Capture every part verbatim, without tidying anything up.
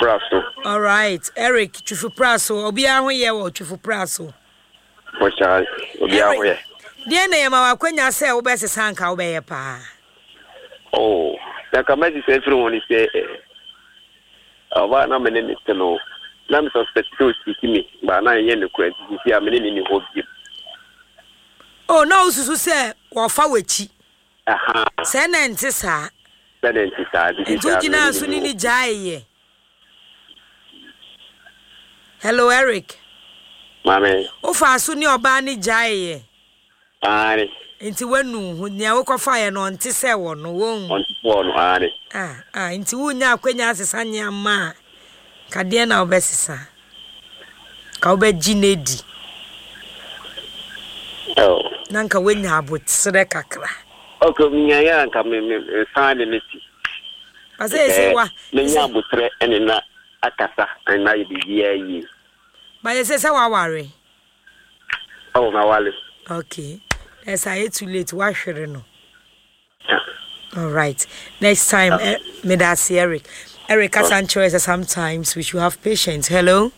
Praso. Alright, Eric, Twifo Praso. Obiara ho yɛ wɔ Twifo Praso. Bɔhyɛ obiara ho yɛ. Deɛ na yɛma w'akwanya sɛ wobɛsesa nka wobɛyɛ paa. Oh, na ka mɛsesa afiri ho ne sɛ ɔbaa na mene ne te no na me suspect sɛ ɔsisi me baa na ɛnyɛ nokorɛ nti sisi a mene ne ni hɔ bio. Oh, na wosusu sɛ wɔfa w'akyi. Aha. Sɛ na ɛnte saa. Sɛ na ɛnte saa. Nti wogyinaa so ne ne gyaeeɛ. Hello, Eric. Maame. Wofaa so ne ɔbaa ne gyaeeɛ. Aane. Nti woanu wo ho. Nea wokɔfaeɛ no ɔnte sɛ wɔ no, wohu. Ɔnte sɛ wɔ no, aane. Ah, ah, nti wonya akwanya asesa nneɛma a, ka deɛn na wobɛsesa? Ka wobɛgye no adi. Oh. Na nka woanya aboterɛ kakra. Ok, menyaeɛ a nka me me mesan de me ti. Pasɛ ɛsɛ wa. Menya aboterɛ ɛne na akasa ɛne na ayɛ biribiara yie. Ba yɛ sɛ sɛ waware. Oh, mawale. Okay. Ɛsɛ ayɛ too late, wahwere no. All right. Next time, eh, medase Eric. Eric kasa nkyerɛ sɛ sometimes we should have patience. Hello.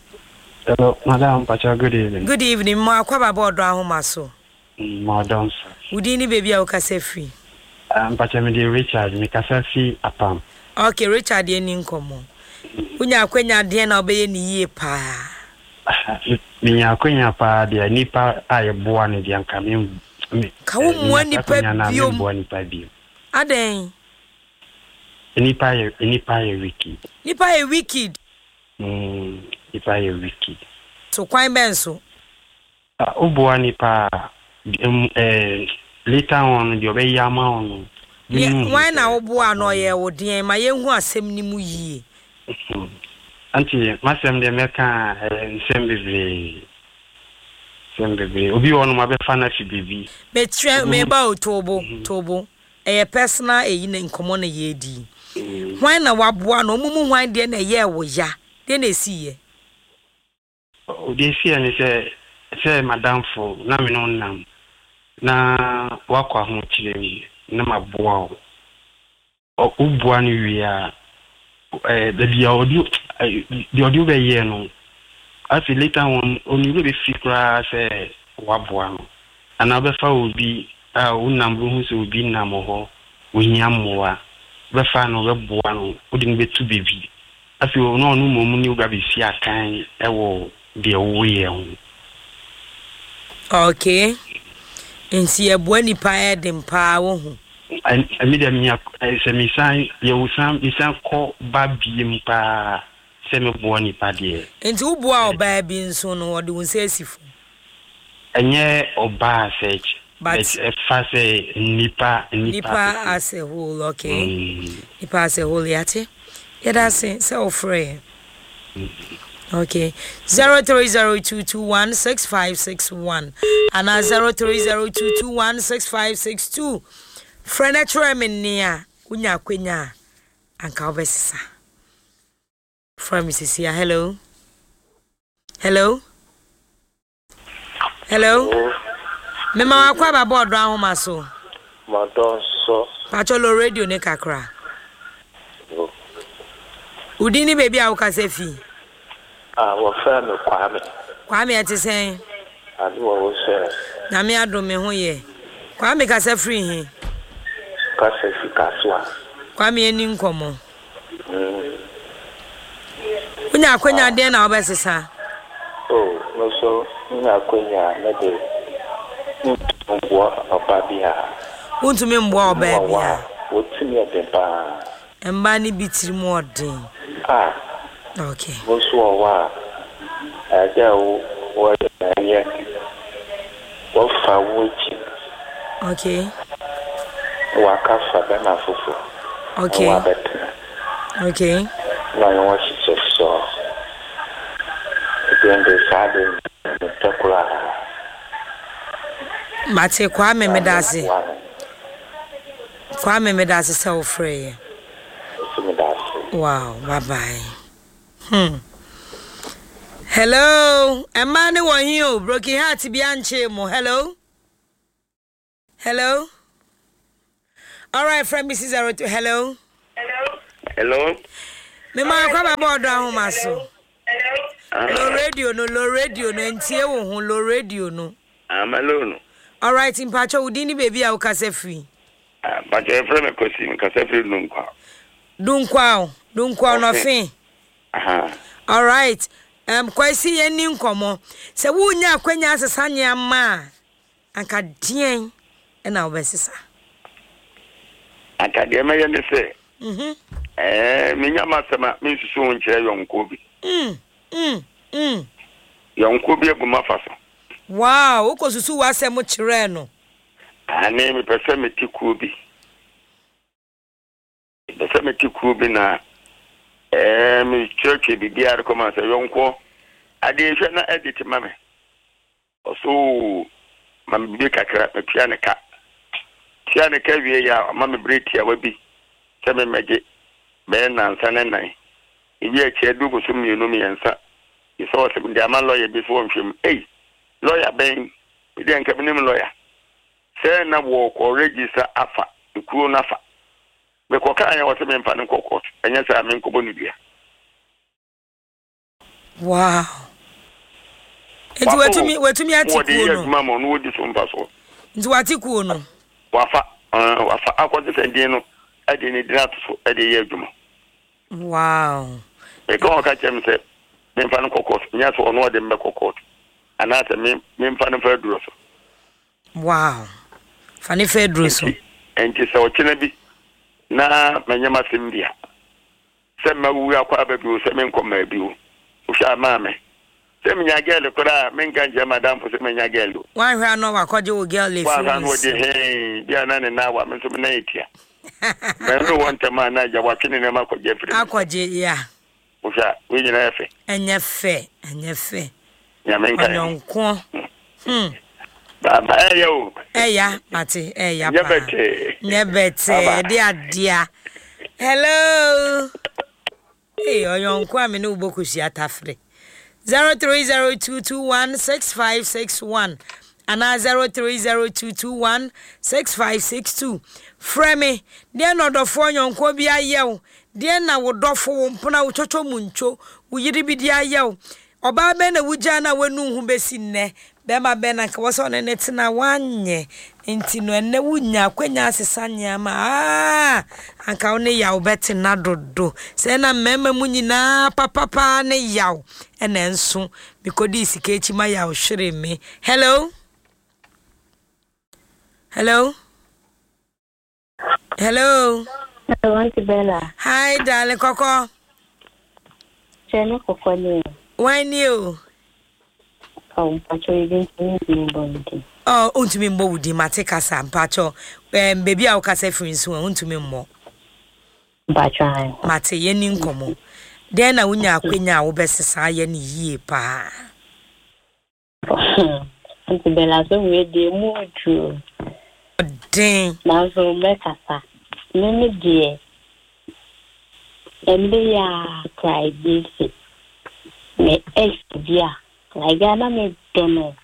Hello, Madam Pacha, good evening. Good evening. Mo akwa baba ɔdɔ ahoma so. Mm, mo ɔdɔ nso. Wo din ne baabi a wokasa firi? Uh, Mpacha me de Richard, me kasa fi Apam. Okay, Richard yɛn ni nkɔmmɔ. Wonya akwanya deɛn na wobɛyɛ ne yie paa? Menya akwanya paa deɛ nipa a yɛboa no deɛ nka me me Ka wo mmoa nipa biom. Mboa nipa biom. Adɛn? Nipa yɛ nipa yɛ wicked. Nipa yɛ wicked. Mm, nipa yɛ wicked. So kwan bɛn so? Woboa nipa a eh, later on deɛ ɔbɛyɛ ama wo no. Wan na woboa no ɔyɛ wo deɛn? Ma yɛnhu asɛm no mu yie. Auntie, m'asɛm deɛ mɛka a ɛyɛ nsɛm bebree. Nsɛm bebree. Obi wɔ hɔnom abɛfa no afi baabi. Mekyerɛ, meba o, Tobo, Tobo. Ɛyɛ personal eyi na nkɔmmɔ na yɛredi. Hwan na waboa no? Ɔmo mu hwan deɛ na ɛyɛɛ wo ya? Deɛ na esiiɛ? Deɛ esiiɛ ne sɛ, sɛ m'adamfo na me ne wo nam na woakɔ ahokyerɛ mu na maboa wo. Woboa no wie a, baabi a ɔde deɛ ɔde wo bɛyɛ no, afei later on ɔne werɛ bɛfiri koraa sɛ woaboa no. Anaa wobɛfa obi a wonam wobɛhu sɛ obi nam hɔ, ohia mmoa, wobɛfa no wobɛboa no, wode no bɛtu baabi. Afei ɔno ɔno mmom ne wo ba bɛsi akan wɔ deɛ woyɛ ho. Okay. Nti yɛboa nipa ɛden paa wohu. Ɛmi deɛ menya sɛ mesan yɛwo san mesan kɔ ba biem paa sɛ meboa nipa deɛ. Nti woboa ɔbaa bi nso no ɔde wo nsa asi fam? Ɛnyɛ ɔbaa sɛ but ɛfa sɛ nipa nipa. Nipa as a whole, okay. Mm. Nipa as a whole yate. Yɛda ase sɛ wofrɛ yɛn. Okay. Zero three zero two two one six five six one ana zero three zero two two one six five six two. Frɛ na kyerɛ me nea wonya akwanya a anka wobɛsesa. Frɛ me sisi a hello. Hello. Hello. Mema wakɔ aba bɔɔdo ahoma so. Madɔ nso. Pacho lo radio ne kakra. Wo din ne baabi a wokasa fi? Ah, wɔfrɛ me Kwame. Kwame, ɛte sɛn? Ade wɔ wo sɛ. Nyame adom me ho yɛ. Kwame kasa firi he? Kasa fi Kasoa. Kwame ani nkɔmmɔ. Mm. Wonya akwanya deɛn na wobɛsesa? Oh, me so menya akwanya me de mentumi mboa ɔba biara. Wontumi mboa ɔbaa biara? Wɔtumi yɛ den paa. Mmaa no bi tirim ɔden. Ah. Okay. Wo nso wɔ hɔ a, ɛyɛ dɛ wo wɔyɛ ɛyɛ wɔfa wo akyi. Okay. Na waka fa bɛrima foforɔ. Okay. Na wabɛtena. Okay. Na ɔne wɔn hyehyɛ sɔɔ. Ɛdeɛn de saa de mepɛ koraa. Mate Kwame medase. Kwame medase sɛ wofrɛ yɛ. Wow, bye bye. Hmm. Hello, ɛmmaa ne wɔ he o, broken heart bi ankyee mo. Hello. Hello. All right, friend, Missus Zero two. Hello. Hello. Mema akɔ aba bɔ ɔdɔ ahoma so. Low radio no, low radio no, ntie wo ho, low radio no. Amalo no. Alright, mpakyɛ wo din ne baabi a wokasa firi. Mpakyɛ yɛfrɛ me Kwasi, mekasa firi Dunkwa. Dunkwa o, Dunkwa nɔfe. Alright, um, Kwasi yɛn ni nkɔmmɔ. Sɛ wonya akwanya asesa nneɛma a, anka deɛn ɛna wobɛsesa? Anka deɛ mɛyɛ ne sɛ, ɛɛ menya m'asɛm a mensusu ho nkyerɛ yɔnkoɔ bi. Mm, mm, mm. Yɔnkoɔ bi abu m'afa so. Wow, wokɔsusu w'asɛm kyerɛɛ no. Ane mepɛ sɛ mete kuo bi. Mepɛ sɛ mete kuo bi na ɛɛ mekyerɛkyerɛ biribiara kɔma sɛ yɔnkoɔ adeɛ hwɛ na edit ma me. Ɔso ma me biribi kakra metua ne ka. Tua ne ka wie yɛ a ɔma me bere tiawa bi sɛ memmɛgye bɛyɛ nansa ne nan. Ebi akyi adu bosom mmienu mmiɛnsa. Sɛ ɔsɛ mede ama lɔya bi so wɔnhwɛ mu. Ei, lɔya bɛn? Medeɛ nka menim lɔya. Sɛ na wɔkɔ register afa, ekuo no afa. Mekɔkaa yɛ wɔ sɛ memfa no nkɔ court. Ɛnyɛ sɛ a menkɔbɔ no dua. Wow. Nti watumi watumi ate Wɔde kuo yɛ no. adwuma ma ɔno wɔdi so mfa so. Nti wate kuo no. Wafa ɛɛ wafa akɔgye sɛ din no ɛde ne din ato so ɛde yɛ adwuma. Wow. Meka wɔn ka kyerɛ me sɛ memfa no nkɔ court. Nyɛ sɛ ɔno ɔde me bɛkɔ court. Anaasɛ me memfa no mfa aduro so. Wow. Fa ne fa aduro so. Nti nti sɛ ɔkyena bi na manyɛ m'asɛm bi a sɛ mawu akɔ aba bi o sɛ menkɔ mmaa bi o wohwɛ a maa me sɛ menya girl koraa a menka nkyerɛ madamfo sɛ manya girl o. Wanhwɛ a na wakɔgye wo girl efi woahwɛ wo no wɔde nsam. hee bi a na ne nan wa me nso me nan etia. Mɛno wɔ ntɛm a na agya watwe ne nneɛma akɔgye afiri me nsam. Akɔgye ya. Wohwɛ a wei nyinaa yɛ fɛ. Ɛnyɛ fɛ, ɛnyɛ fɛ. Nyame nka yɛn. Ɔnyɔnko. Hmm. Baaba ɛyɛ o. Ɛya, mate, ɛya Nyɛ paa. bɛtɛɛ. Nyɛ bɛtɛɛ, Aba. de adea. Hello. Hey, ɔyɔnko a me ne wo bɔ kosua tafere. zero three zero two two one six five six one anaa zero three zero two two one six five six two. Frɛ me. Deɛ na ɔdɔfoɔ yɔnko bi ayɛ wo. Deɛ na wo dɔfo wo mpona wo twotwo mu ntwo. Wo yere bi de ayɛ wo. Ɔbaa bɛn na wogyaa no a wanu ho bɛsi nnɛ. Bɛrima bɛn na nka wɔ sɛ ɔne ne tena wanyɛ. Nti no ɛnnɛ wonya akwanya asesa nneɛma. Ah, anka wo ne yaw bɛtena dodo. Sɛ na mmarima mu nyinaa papapaa ne yaw. Ɛna nso mekɔdii sika akyi ma yaw hwere me. Hello? Hello? Hello? Hello, Auntie Bella. Hi, darling Koko. Kyerɛ kɔkɔ ne Why ni o? O? Mpakyɛ ebi ntumi ntumi bɔ ne din. Oh, ontumi mbɔ wo din mate kasa mpakyɛ. Um, baabi a wokasa firi nso a ontumi mmɔ. Mpakyɛ ayi. Mate yɛni nkɔmmɔ. Dɛn na wonya akwanya a wobɛsesa ayɛ ne yie paa? Auntie Bella, so wei deɛ mu duro. Ɔden. Nanso mɛkasa. Me me deɛ ɛnde yɛ a kora ebi si. Me ex bi a like a na me dɔ no.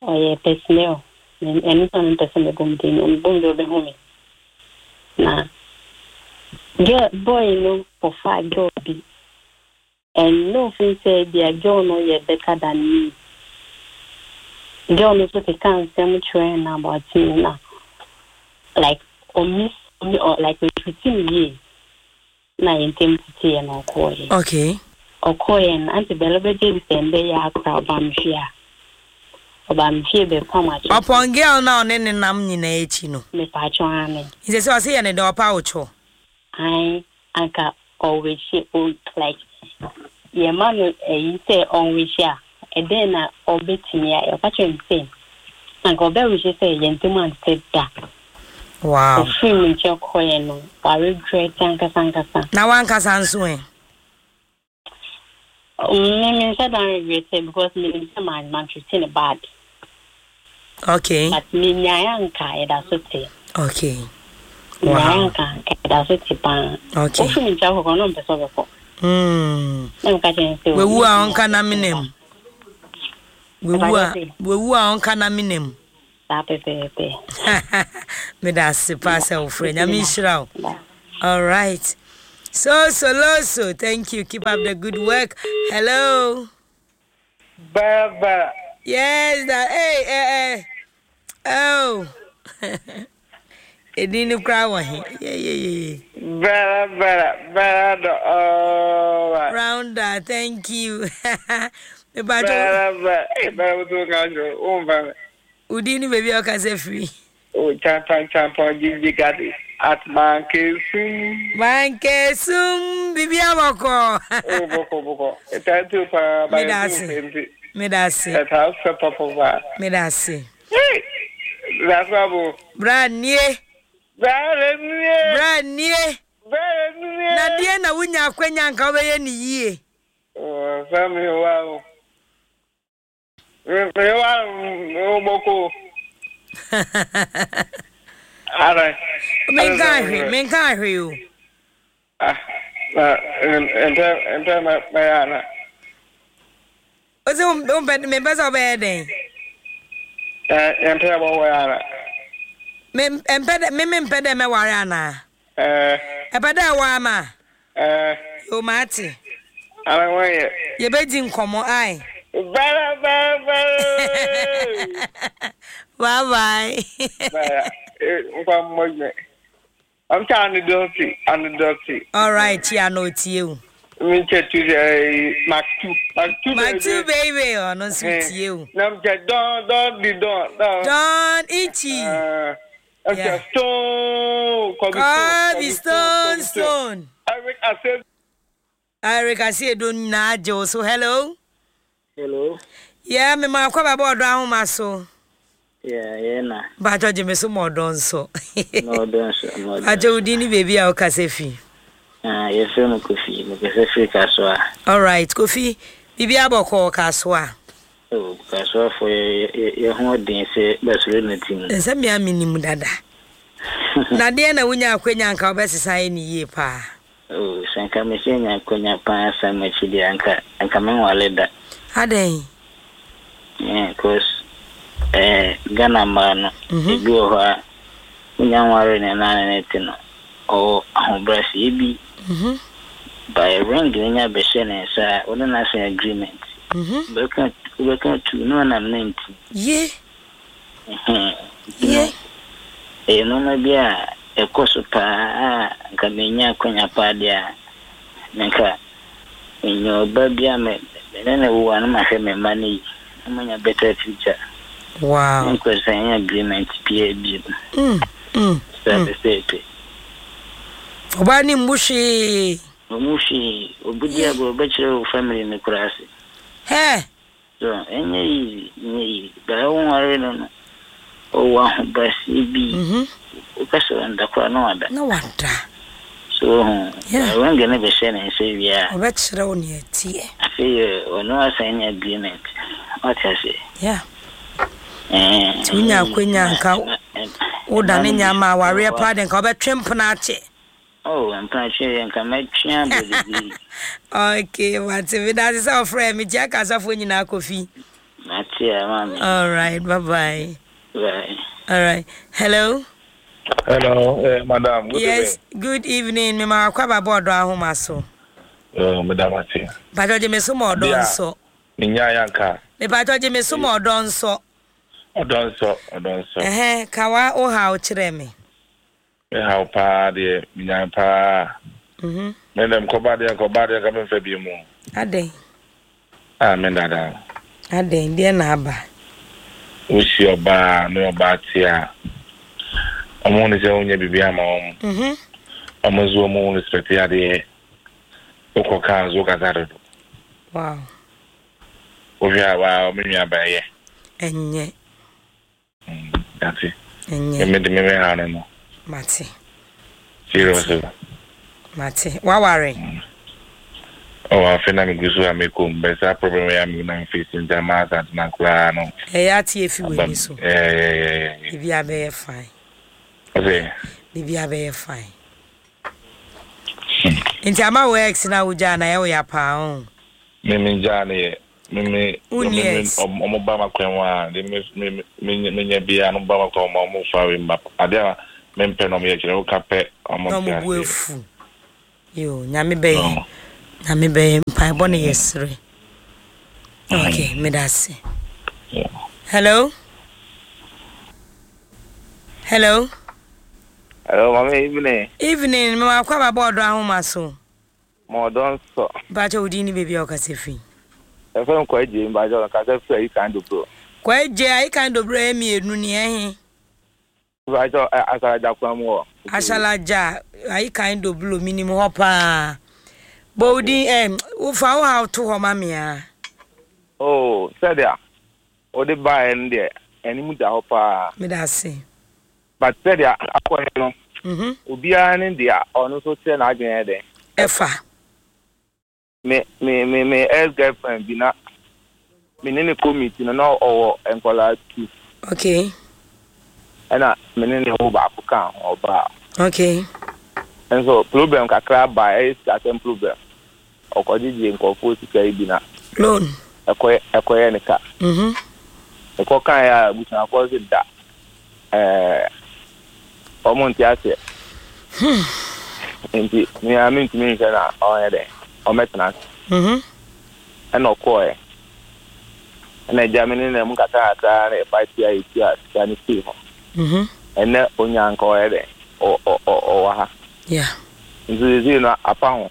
Ɔyɛ personnel. Ɛno nso na mepɛ sɛ mebɔ me din. Mebɔ me din ɔbɛhu me. Na girl boy no kɔfaa girl bi. And no offense sɛ bia girl no yɛ better than me. Girl no nso keka nsɛm kyerɛ no about me na like ɔmi ɔmi ɔ like ɔtreat me yie. Na yɛn ntam teteeɛ na ɔkɔɔeɛ. Okay. Ɔkɔɔeɛ no Auntie Bella bɛgye di sɛ mbɛyɛ akora ɔba me fie a. Ɔba me fie bɛpam akyɛ. Ɔpɔn girl na ɔne ne nam nyinaa akyi no. Mepatwɔ ane. Nti sɛ ɔse yɛ ne dɛ ɔpa wo kyɛw. Ae anka ɔwɛhyɛ o like yɛma no ɛyi sɛ ɔnwɛhyɛ a ɛdɛn na ɔbɛtumi ayɛ ɔka kyerɛ me sɛ anka ɔbɛwɛhyɛ sɛ yɛn ntam ante da. Wow. Ɔfiri me nkyɛn kɔeɛ no waregret ankasa ankasa. Na wankasa nso ɛ? Me me nhyɛ da regret because menim sɛ ma mantreat ne bad. Okay. But menyaeɛ anka yɛda so te. Okay. Menyaeɛ Wow. anka anka yɛda so te paa. Okay. Ɔfiri me nkyɛn kɔkɔ na ɔmpɛ sɛ ɔbɛkɔ. Mm. Na meka kyerɛ no sɛ Wewu a ɔnka na menem. Wewu a Ɛfa wewu a ɔnka na menem. Saa pɛpɛɛpɛ. Meda ase paa sɛ wofrɛ. Nyame nhyira wo. All right. So so loso. Thank you. Keep up the good work. Hello. Baba. Yes, that hey eh eh. Oh. Edin no kura wɔ he. Yeah yeah yeah. Bara bara bara do oh. Rounder, thank you. Me bara bara. Hey, bara wo ka jo. O mfa. Udi ni baby o ka se free. O champan champan gigi gadi at Mankesum. Mankesum bibi aboko. O boko boko. Eta tu pa ba. Medase. Medase. Eta se papa ba. Medase. Hey. That's abo. Bra nie. Bra nie. Bra nie. Bra nie. Na die na wunya akwanya nka obeye ni yie. O fa mi wa o. Me wa o boko. Ara. Menka hwe, menka hwe o. Ah, na ente ente ma ma ya na. O se o me pesa obeye den. Eh, ente bo wa ya na. Me empe me me mpe de me ware ana. Eh. E pe de wa ma. Eh. Yo mate. Ara wa ye. Ye be di nkomo ai. Bye bye bye. Bye bye. Bye. I'm trying to do it. I'm dirty. All right, yeah, no to you. Me check to Mark two. Mark two. Mark two, baby. Oh, no sweet you. No, don't don't be don't don't. Don't itchy. Uh, yeah. Stone. Kobe stone stone. Eric I said. Eric I said don't na Joe. So hello. Hello. Yeah, me ma kwa baba odo ahoma so. Yeah, yeah na. Ba judge me so mo don so. No don so. No. Ajo udi ni baby a okasefi. Ah, yes no Kofi, me kasefi Kasoa. All right, Kofi. Bibi aboko Kasoa. Oh, Kasoa for ye ye ho den se basure na team. Nse me aminim dada. Na de na wunya akwanya nka obesesa ye ni yie pa. Oh, sanka me se nya akwanya pa sa ma chidi anka anka me nwale da. Aden. Yeah, cause eh Ghana man ebi wo ha wunya nware na na na tino. O ahobrasi bi. Mhm. By ring nya be hye na sa wo na say agreement. Mhm. Be kan be kan tu no na ninety. Ye. Mhm. Ye. E no na bia e koso pa nka menya akwanya pa dia. Nka enyo ba bia me na na wo anu ma hwe me money. Manya better future. Wow. Nka sign agreement P A B. Mm. Mm. Mm. Oba ni mbushi. Mbushi obudi abo obechire family ni kurase. He. So enye easy, enye easy. Ba won ware no no. O wa ho basi bi. Mhm. O kaso nda kwa no ada. No wada. So yeah. Won gonna be share na say we are. Obechire wo ne tie. Afi o no sign agreement. What I say? Yeah. Eh. Tunya akwenya nka. O da ne nya ma ware pa de nka obetwe mpona ache. Oh, I'm pretty and can make champion. Okay, what's it? That is our friend, me Jack as a phone in our coffee. That's it, mommy. All right, bye bye. Bye. All right. Hello. Hello, uh, madam. Good yes, evening. Good evening. Me ma kwa baba odo ahoma so. Oh, madam ati. Pacho je me so mo odo nso. Me nya yanka. Me pacho je me so mo odo nso. Odo nso, odo nso. Eh, kawa o ha o kire me. Me how pa de me nya pa. Mhm. Me dem ko ba de ko ba de ka me fa bi mu. Aden. Ah, me dada. Aden de na aba. O si oba no oba tia. Omo ne se onye bibia ma omo. Mhm. Omo zo omo respect ya de. Okọ kan zo ka zaro. Wow. O hwa wa me nua ba ye. Enye. Mm, ati. Enye. Me de me me ha no no. Mate. Seriously. Mate. Wa worry. Oh, I feel like I'm going to but that problem I'm going to face in the mass and na kura no. Eh, ya ti efi we ni so. Eh, eh, eh. Bibi abeye fine. Okay. Bibi abeye fine. Nti ama wo ex na uja na ye wo ya pa on. Me me ja na ye. Me me me omo ba makwan wa, de me me me nya bia no ba makwan ma omo fa we map. Ade a me mpe no me ye kire wo ka pe omo no mo bu efu. Yo, Nyame bɛyɛ. Nyame bɛyɛ, mpaebɔ ne yɛsere. Okay, meda ase. Hello? Hello? Hello, mami, evening. Evening, me wakɔ aba bɔɔdo ahoma so. Ma ɔdɔ nsɔ. Mpakyɛ wo din ne baabi a wokasa firi. Ɛfɛ nkɔ agye, mpakyɛ ɔkasa firi ayi kan dobro. Kɔ agye, ayi kan dobro yɛ mmienu ni ɛhe? Mpakyɛ Asalaja kwan mu hɔ. Asalaja, ayi kan dobro, minim hɔ paa. Bɔ wo din, eh, wofa wo haw to hɔ ma me a. Oh, sɛdeɛ wode baeɛ no deɛ, anim da hɔ paa. Meda ase. But sɛdeɛ akɔyɛ no, Mhm. obiara ne deɛ ɔno nso kyerɛ n'adwene yɛ dɛn. Ɛfa. Me me me me ex girlfriend bi na me ne ne kɔ meet no, na ɔwɔ nkɔlaa two. Okay. Ɛna me ne ne wo baako ka ho, ɔbaa. Okay. Nso problem kakra ba, ɛyɛ sikasɛm problem. Ɔkɔgyegye nkɔfoɔ sika yi bi na Loan. ɛkɔyɛ ɛkɔyɛ ne ka. Mhm. Ɛkɔ kan yɛ a, abusuafoɔ sɛ da ɛɛ ɔmo nte aseɛ. Nti mea mentumi nhwɛ na ɔnyɛ dɛ ɔmɛtena ase. Mhm. Ɛna ɔkɔɔɛ. Ɛna agya me ne na mu kakra kakra na yɛfa tia yɛtua sika no fii hɔ. Mhm. Ɛnɛ onya nka ɔyɛ dɛ ɔ- ɔ- ɔ- ɔwɔ ha. Yeah. Nso seesei no apa ho.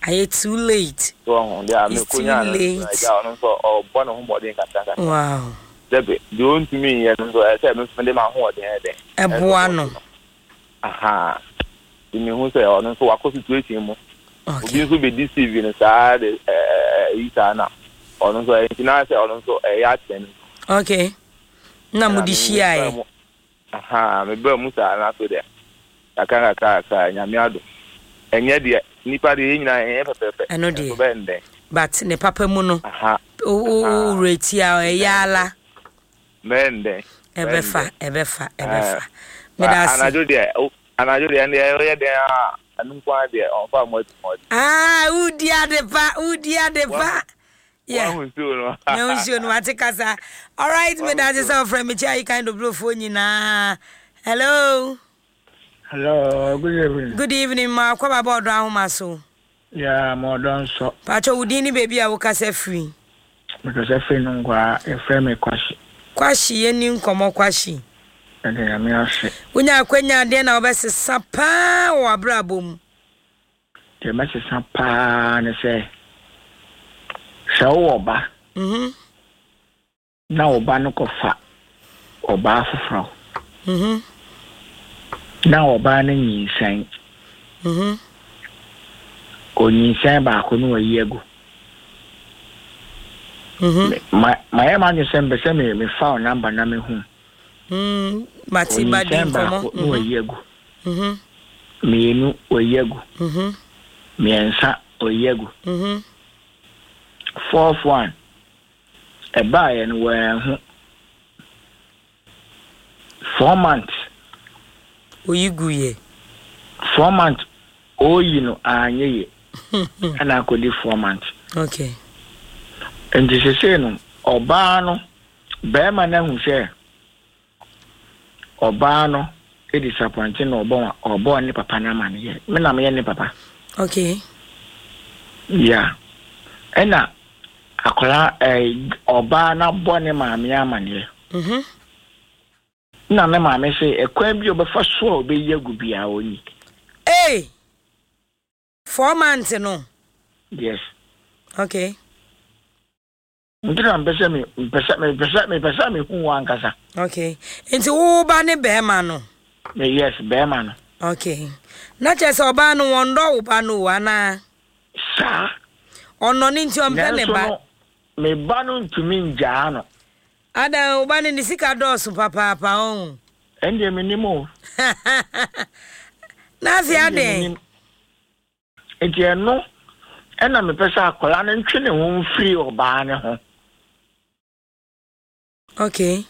Ayɛ too late. So ɔho deɛ a It's too mekonya no late. agya ɔno nso ɔbɔ ne ho mmɔden kakra kakra. Wow. Sɛbe deɛ ɔntumi nyɛ no nso, ɛsɛ sɛ me nso mede m'ahoɔden yɛ dɛn. Ɛboa no. Aha. Nti mehu sɛ ɔno nso wakɔ situation mu. Okay. Obi nso bɛdi C V no saa de ɛɛ ɛyi saa na ɔno nso ɛyɛ, nti na sɛ ɔno nso ɛyɛ akyɛ no. Okay. Na mo de hyiaeɛ. Aha, mebaa mu saa na afei deɛ kakra kakra kakra, Nyame adom. Ɛnyɛ deɛ nipa deɛ, yɛn nyinaa ɛnyɛ pɛpɛɛpɛ. Ɛno deɛ. Nso bɛyɛ ndɛn. But ne papa mu no, Aha. wo wo wo reti a ɛyɛ ala. Bɛyɛ ndɛn. Ɛbɛfa, ɛbɛfa, ɛbɛfa. Meda ase. Anadwo deɛ o- anadwo deɛ ɛndeɛ ɔyɛ dɛn a, ɛno nko ara deɛ ɔmfa mmɔ ati mmɔ. Ah, wodi ade pa, wodi ade pa. Yeah. Wahu nsuo no. Mehu nsuo no, wate kasa. Alright, meda ase sɛ ɔfrɛ me kyɛ ayi kan doblofoɔ nyinaa. Hello. Hello, good evening. Good evening, ma akɔ baba ɔdɔ ahoma so. Yeah, ma ɔdɔ nsɔ. Pakyɛ, wo din ne baabi a wokasa firi. Mekasa firi no nkwa, yɛfrɛ me Kwahye. Kwahye, yɛni nkɔmmɔ, Kwahye. Ɛde Nyame ase. Wonya akwanya adeɛ na wobɛsesa paa wɔ w'abrabɔ mu. Deɛ mɛsesa paa ne sɛ, sɛ wowɔ ba Mhm. na wo ba no kɔfa ɔbaa foforɔ Mhm. na ɔbaa no nyinsɛn, Mhm. onyinsɛn baako no wayi agu. Mhm. Me- Ma mayɛ m'adwene sɛ mpɛ sɛ me mefa wo number na mehu. Mm, mate ba di Onyinsɛn nkɔmmɔ. baako na Mhm. wayi agu. Mhm. Mmienu wayi agu. Mhm. Mmiɛnsa wayi agu. Mhm. Fourth one ɛbaeɛ no, wɔanhu. Four months. Oyi gu yɛ. Four months oyi no anyɛ yie, ɛna akɔdi four months. Okay. Nti sesei no, ɔbaa no, bɛrima no ahu sɛ ɔbaa no disappoint na ɔbɔ ɔbɔ ne papa no ama no yɛ me na meyɛ ne papa. Okay. Ya, ɛna akwaraa ɛɛ ɔbaa no abɔ ne maame amanneɛ Mhm. na ne maame sɛ ɛkwan bi a ɔbɛfa so a ɔbɛyi agu biara ɔnyi. Hey! Four months no. Yes. Okay. Nti na mpɛ sɛ me mpɛ sɛ mepɛ sɛ mepɛ sɛ mehu wo ankasa. Okay. Nti wo ba ne bɛrima no. Me, yes, bɛrima no. Okay. Na kyerɛ sɛ ɔbaa no wɔn dɔ wo ba no o anaa? Saa. Ɔnɔ ne nti ɔmpɛ ne Nanso ba. no, me ba no ntumi ngyaa no. Adan, wo ba no ne sika dɔɔso papaapa ɔn. Ɛndeɛ menim o. Na afei Ɛndeɛ adan. menim. Nti ɛno ɛna mepɛ sɛ akwadaa no ntwe ne ho mfiri ɔbaa ne ho. Okay.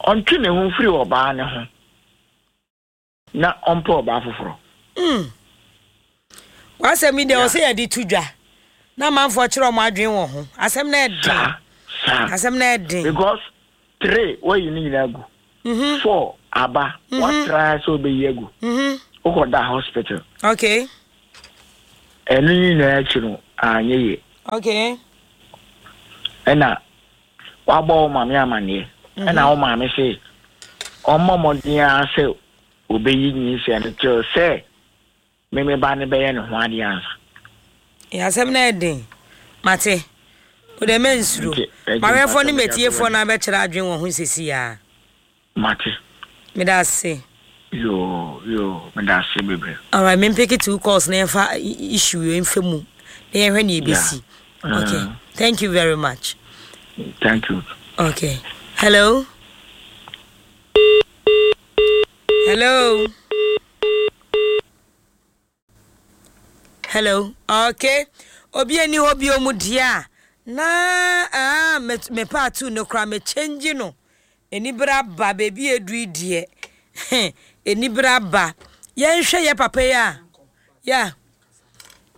Ɔntwe ne ho mfiri ɔbaa ne ho na ɔmpɛ ɔbaa foforɔ. Mm. W'asɛm yi deɛ, ɔsɛ yɛde to dwa na amanfoɔ kyerɛ ɔmo adwene wɔ ho. Asɛm na ɛden. Saa saa. Asɛm na ɛden. Because three wayi ne nyinaa gu. Mhm. Four aba, Mhm. watra sɛ ɔbɛyi agu. Mhm. Wokɔda hospital. Okay. Ɛno nyinaa akyi no, anyɛ yie. Okay. Ɛna wabɔ wo maame amanneɛ. Mhm. Ɛna wo maame se ɔmmɔ mmɔden ara sɛ obeyi nyinsɛn no till sɛ me me ba no bɛyɛ ne ho adeɛ ansa. Yɛ asɛm no yɛ den. Mate. Wo deɛ mɛnsuro. Nti, ɛgye M'awɛfoɔ ne mpakyɛ mede ato m'atiefoɔ w'anim. no abɛkyerɛ adwene wɔ ho seesei ara. Mate. Meda ase. Yoo, yoo, meda ase bebree. Alright, me mpeke two calls na yɛmfa issue wei mfa mu na yɛnhwɛ nea ebesi. Yeah. Okay. Mm. Thank you very much. Thank you. Okay. Hello. Hello. Hello. Okay. Obi ani hɔ bio mu deɛ a na ah me me part two no koraa me change no. Anibere aba baabi a edu yi deɛ. Anibere aba. Yɛnhwɛ yɛ papa yi a. Yeah.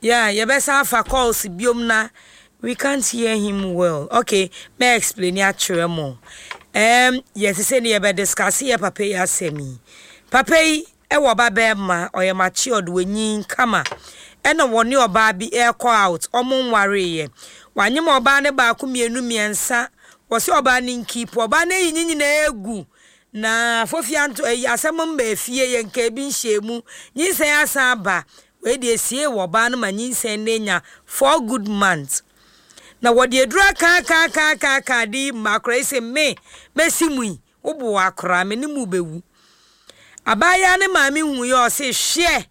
Yeah, yɛbɛsan afa calls biom na we can't hear him well. Okay, mɛ explain akyerɛ mo. Um, yɛte sɛ ne yɛbɛ discuss yɛ papa yi asɛm yi. Papa yi ɛwɔ ba bɛrima, ɔyɛ matured, wanyin kama. Ɛna wɔne ɔbaa bi ɛrekɔ out, ɔmo nwareeɛ. Wanyem ɔbaa ne baako mmienu mmiɛnsa. Wɔsɛ ɔbaa ne nkeep, ɔbaa no ayi ne nyinaa egu. Na fofia nto ɛyi asɛm mba efie yɛ nka ebi nhyɛ mu. Nyinsɛn asan aba. Wei deɛ sie wɔ ɔbaa no ma nyinsɛn no anya four good months. Na wɔde aduru aka aka aka aka aka de yi mma akora yi sɛ me mɛsi mu yi wobo akora me ne mu bɛwu. Abaayewa ne maame hu yɛ ɔse hwɛ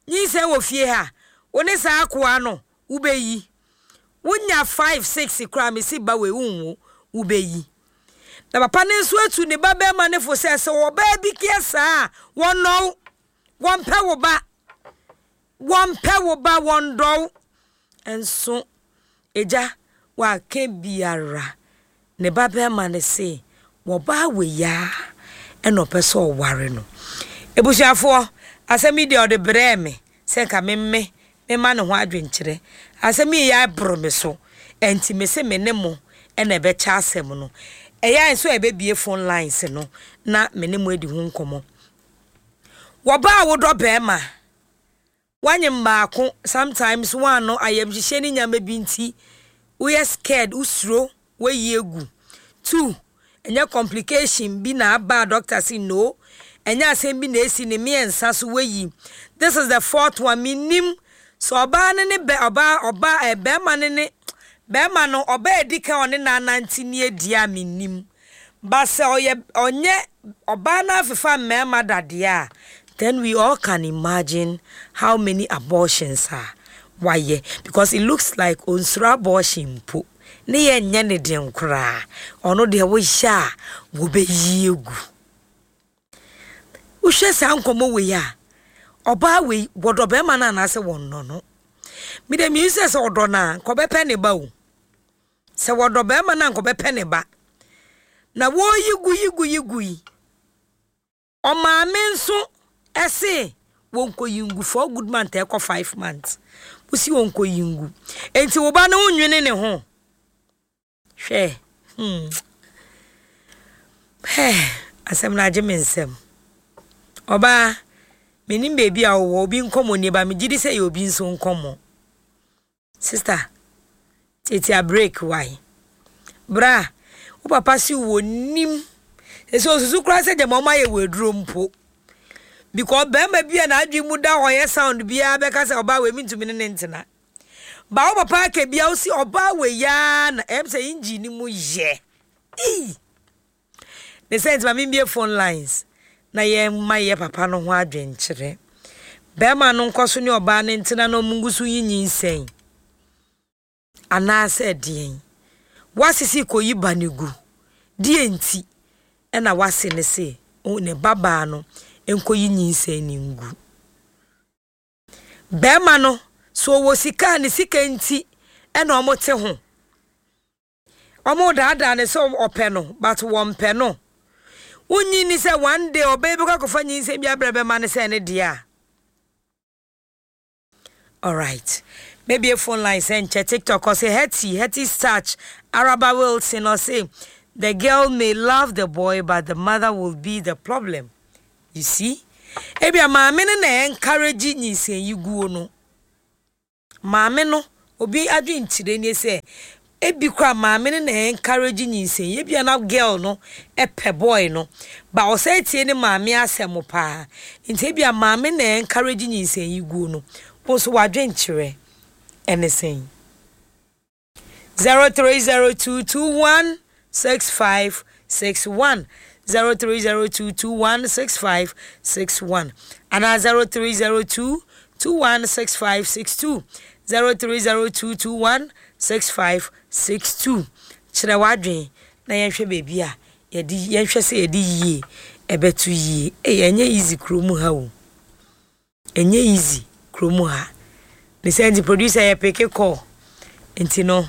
nyinsɛn wɔ fie ha wo ne saa akoa no wobɛyi. Wonya five six koraa mesi ba wei wonwo wobɛyi. Na papa no nso atu ne ba bɛrima ne fo sɛ sɛ ɔbaa bi kɛ saa a wɔnnɔw wɔmpɛ wo ba wɔmpɛ wo ba wɔndɔw nso agya waka biara ne ba bɛrima no se wɔbaa wei a ɛna ɔpɛ sɛ ɔware no ebusuafoɔ asɛm yi deɛ ɔde brɛɛ me sɛ nka memme mema ne ho adwenkyerɛ asɛm yi yɛ aboro me so ɛnti me se me ne mo ɛna ɛbɛkyɛ asɛm no ɛyɛ a nso a ɛbɛbie phone lines no na me ne mo adi ho nkɔmmɔ wɔbaa wodɔ bɛrima wanyem baako sometimes one ayamhyehyɛ ne nyama bi nti woyɛ scared wosuro woayi egu two ɛnyɛ complication bi na aba a doctor si no ɛnyɛ asɛm bi na esi ne mmiɛnsa so woayi this is the fourth one minim sɛ ɔbaa ne ne bɛ ɔbaa ɔbaa ɛ bɛrima ne ne bɛrima no ɔbaa edi kan ɔne n'anante ne edi a minim ba sɛ ɔyɛ ɔnyɛ ɔbaa no afefa mmarima dadeɛ a then we all can imagine how many abortions a wayɛ because it looks like onsuro abortion mpo ne yɛ nyɛ ne den koraa ɔno deɛ wohyɛ a wɔbɛyi egu wohwɛ saa nkɔmmɔ wei a ɔbaa wei wɔdɔ bɛrima no anaasɛ wɔnnɔ no mede mihu sɛ sɛ ɔdɔ no a nkɔbɛpɛ ne ba o sɛ wɔdɔ bɛrima no a nkɔbɛpɛ ne ba na wɔreyi gu yi gu yi gu yi ɔmaame nso ɛse wɔnkɔyi ngu four good month ɛkɔ five months wosi wɔnkɔyi ngu enti wo ba no wonwene ne ho hwɛ hmm hɛ asɛm no agye me nsɛm ɔbaa menim baabi a wowɔ obi nkɔmmɔ nie ba megye di sɛ yɛ obi nso nkɔmmɔ sister tietia break wae bra wo papa si wɔ nim ɛsɛ osusu koraa sɛ gyama ɔma yɛ wɔ aduro mpo because bɛrima bi a n'adwene mu da hɔ yɛ sound biara bɛka sɛ ɔbaa wei mi ntumi ne ne ntena ba wo papa aka bia wosi ɔbaa wei yaa na ɛm sɛ engine ni mu yɛ ii ne sɛ nti ma membie phone lines na yɛn ma yɛ papa no ho adwenkyerɛ bɛrima no nkɔ so ne ɔbaa no ntena na ɔmo ngu so yi nyinsɛn anaasɛ deɛn wasisi kɔyi ba ne gu deɛ nti ɛna wase ne se ne babaa no nkɔyi nyinsɛn ne ngu bɛrima no so ɔwɔ sika a ne sika nti ɛna ɔmo te ho ɔmo daadaa ne sɛ ɔpɛ no but wɔmpɛ no wonyi ni sɛ one day ɔbɛyɛ bi kɔ akɔfa nyinsɛn bi abrɛ bɛma ne sɛ ne deɛ a alright maybe a phone line sɛ nkyɛ tiktok ɔsɛ hetty hetty starch araba wilson ɔsɛ the girl may love the boy but the mother will be the problem you see ebia maame no na encourage nyinsɛn yi guo no Maame no, obi adwenkyerɛ nie sɛ ebi koraa maame no na encourage nyinsɛn yi. Ebia na girl no pɛ boy no, but ɔsan tie ne maame asɛm paa. Nti ebia maame na encourage nyinsɛn yi guo no. Wo nso w'adwenkyerɛ ɛne sɛn? zero three zero two two one six five six one zero three zero two two one six five six one anaa zero three zero two two one six five six two zero three zero two two one six five six two Kyerɛ w'adwene na yɛnhwɛ baabi a yɛde yɛnhwɛ sɛ yɛde yie ɛbɛto yie. Ei, ɛnyɛ easy kurom ha o. Ɛnyɛ easy kurom ha. Ne sɛ nti producer yɛ peke call. Nti no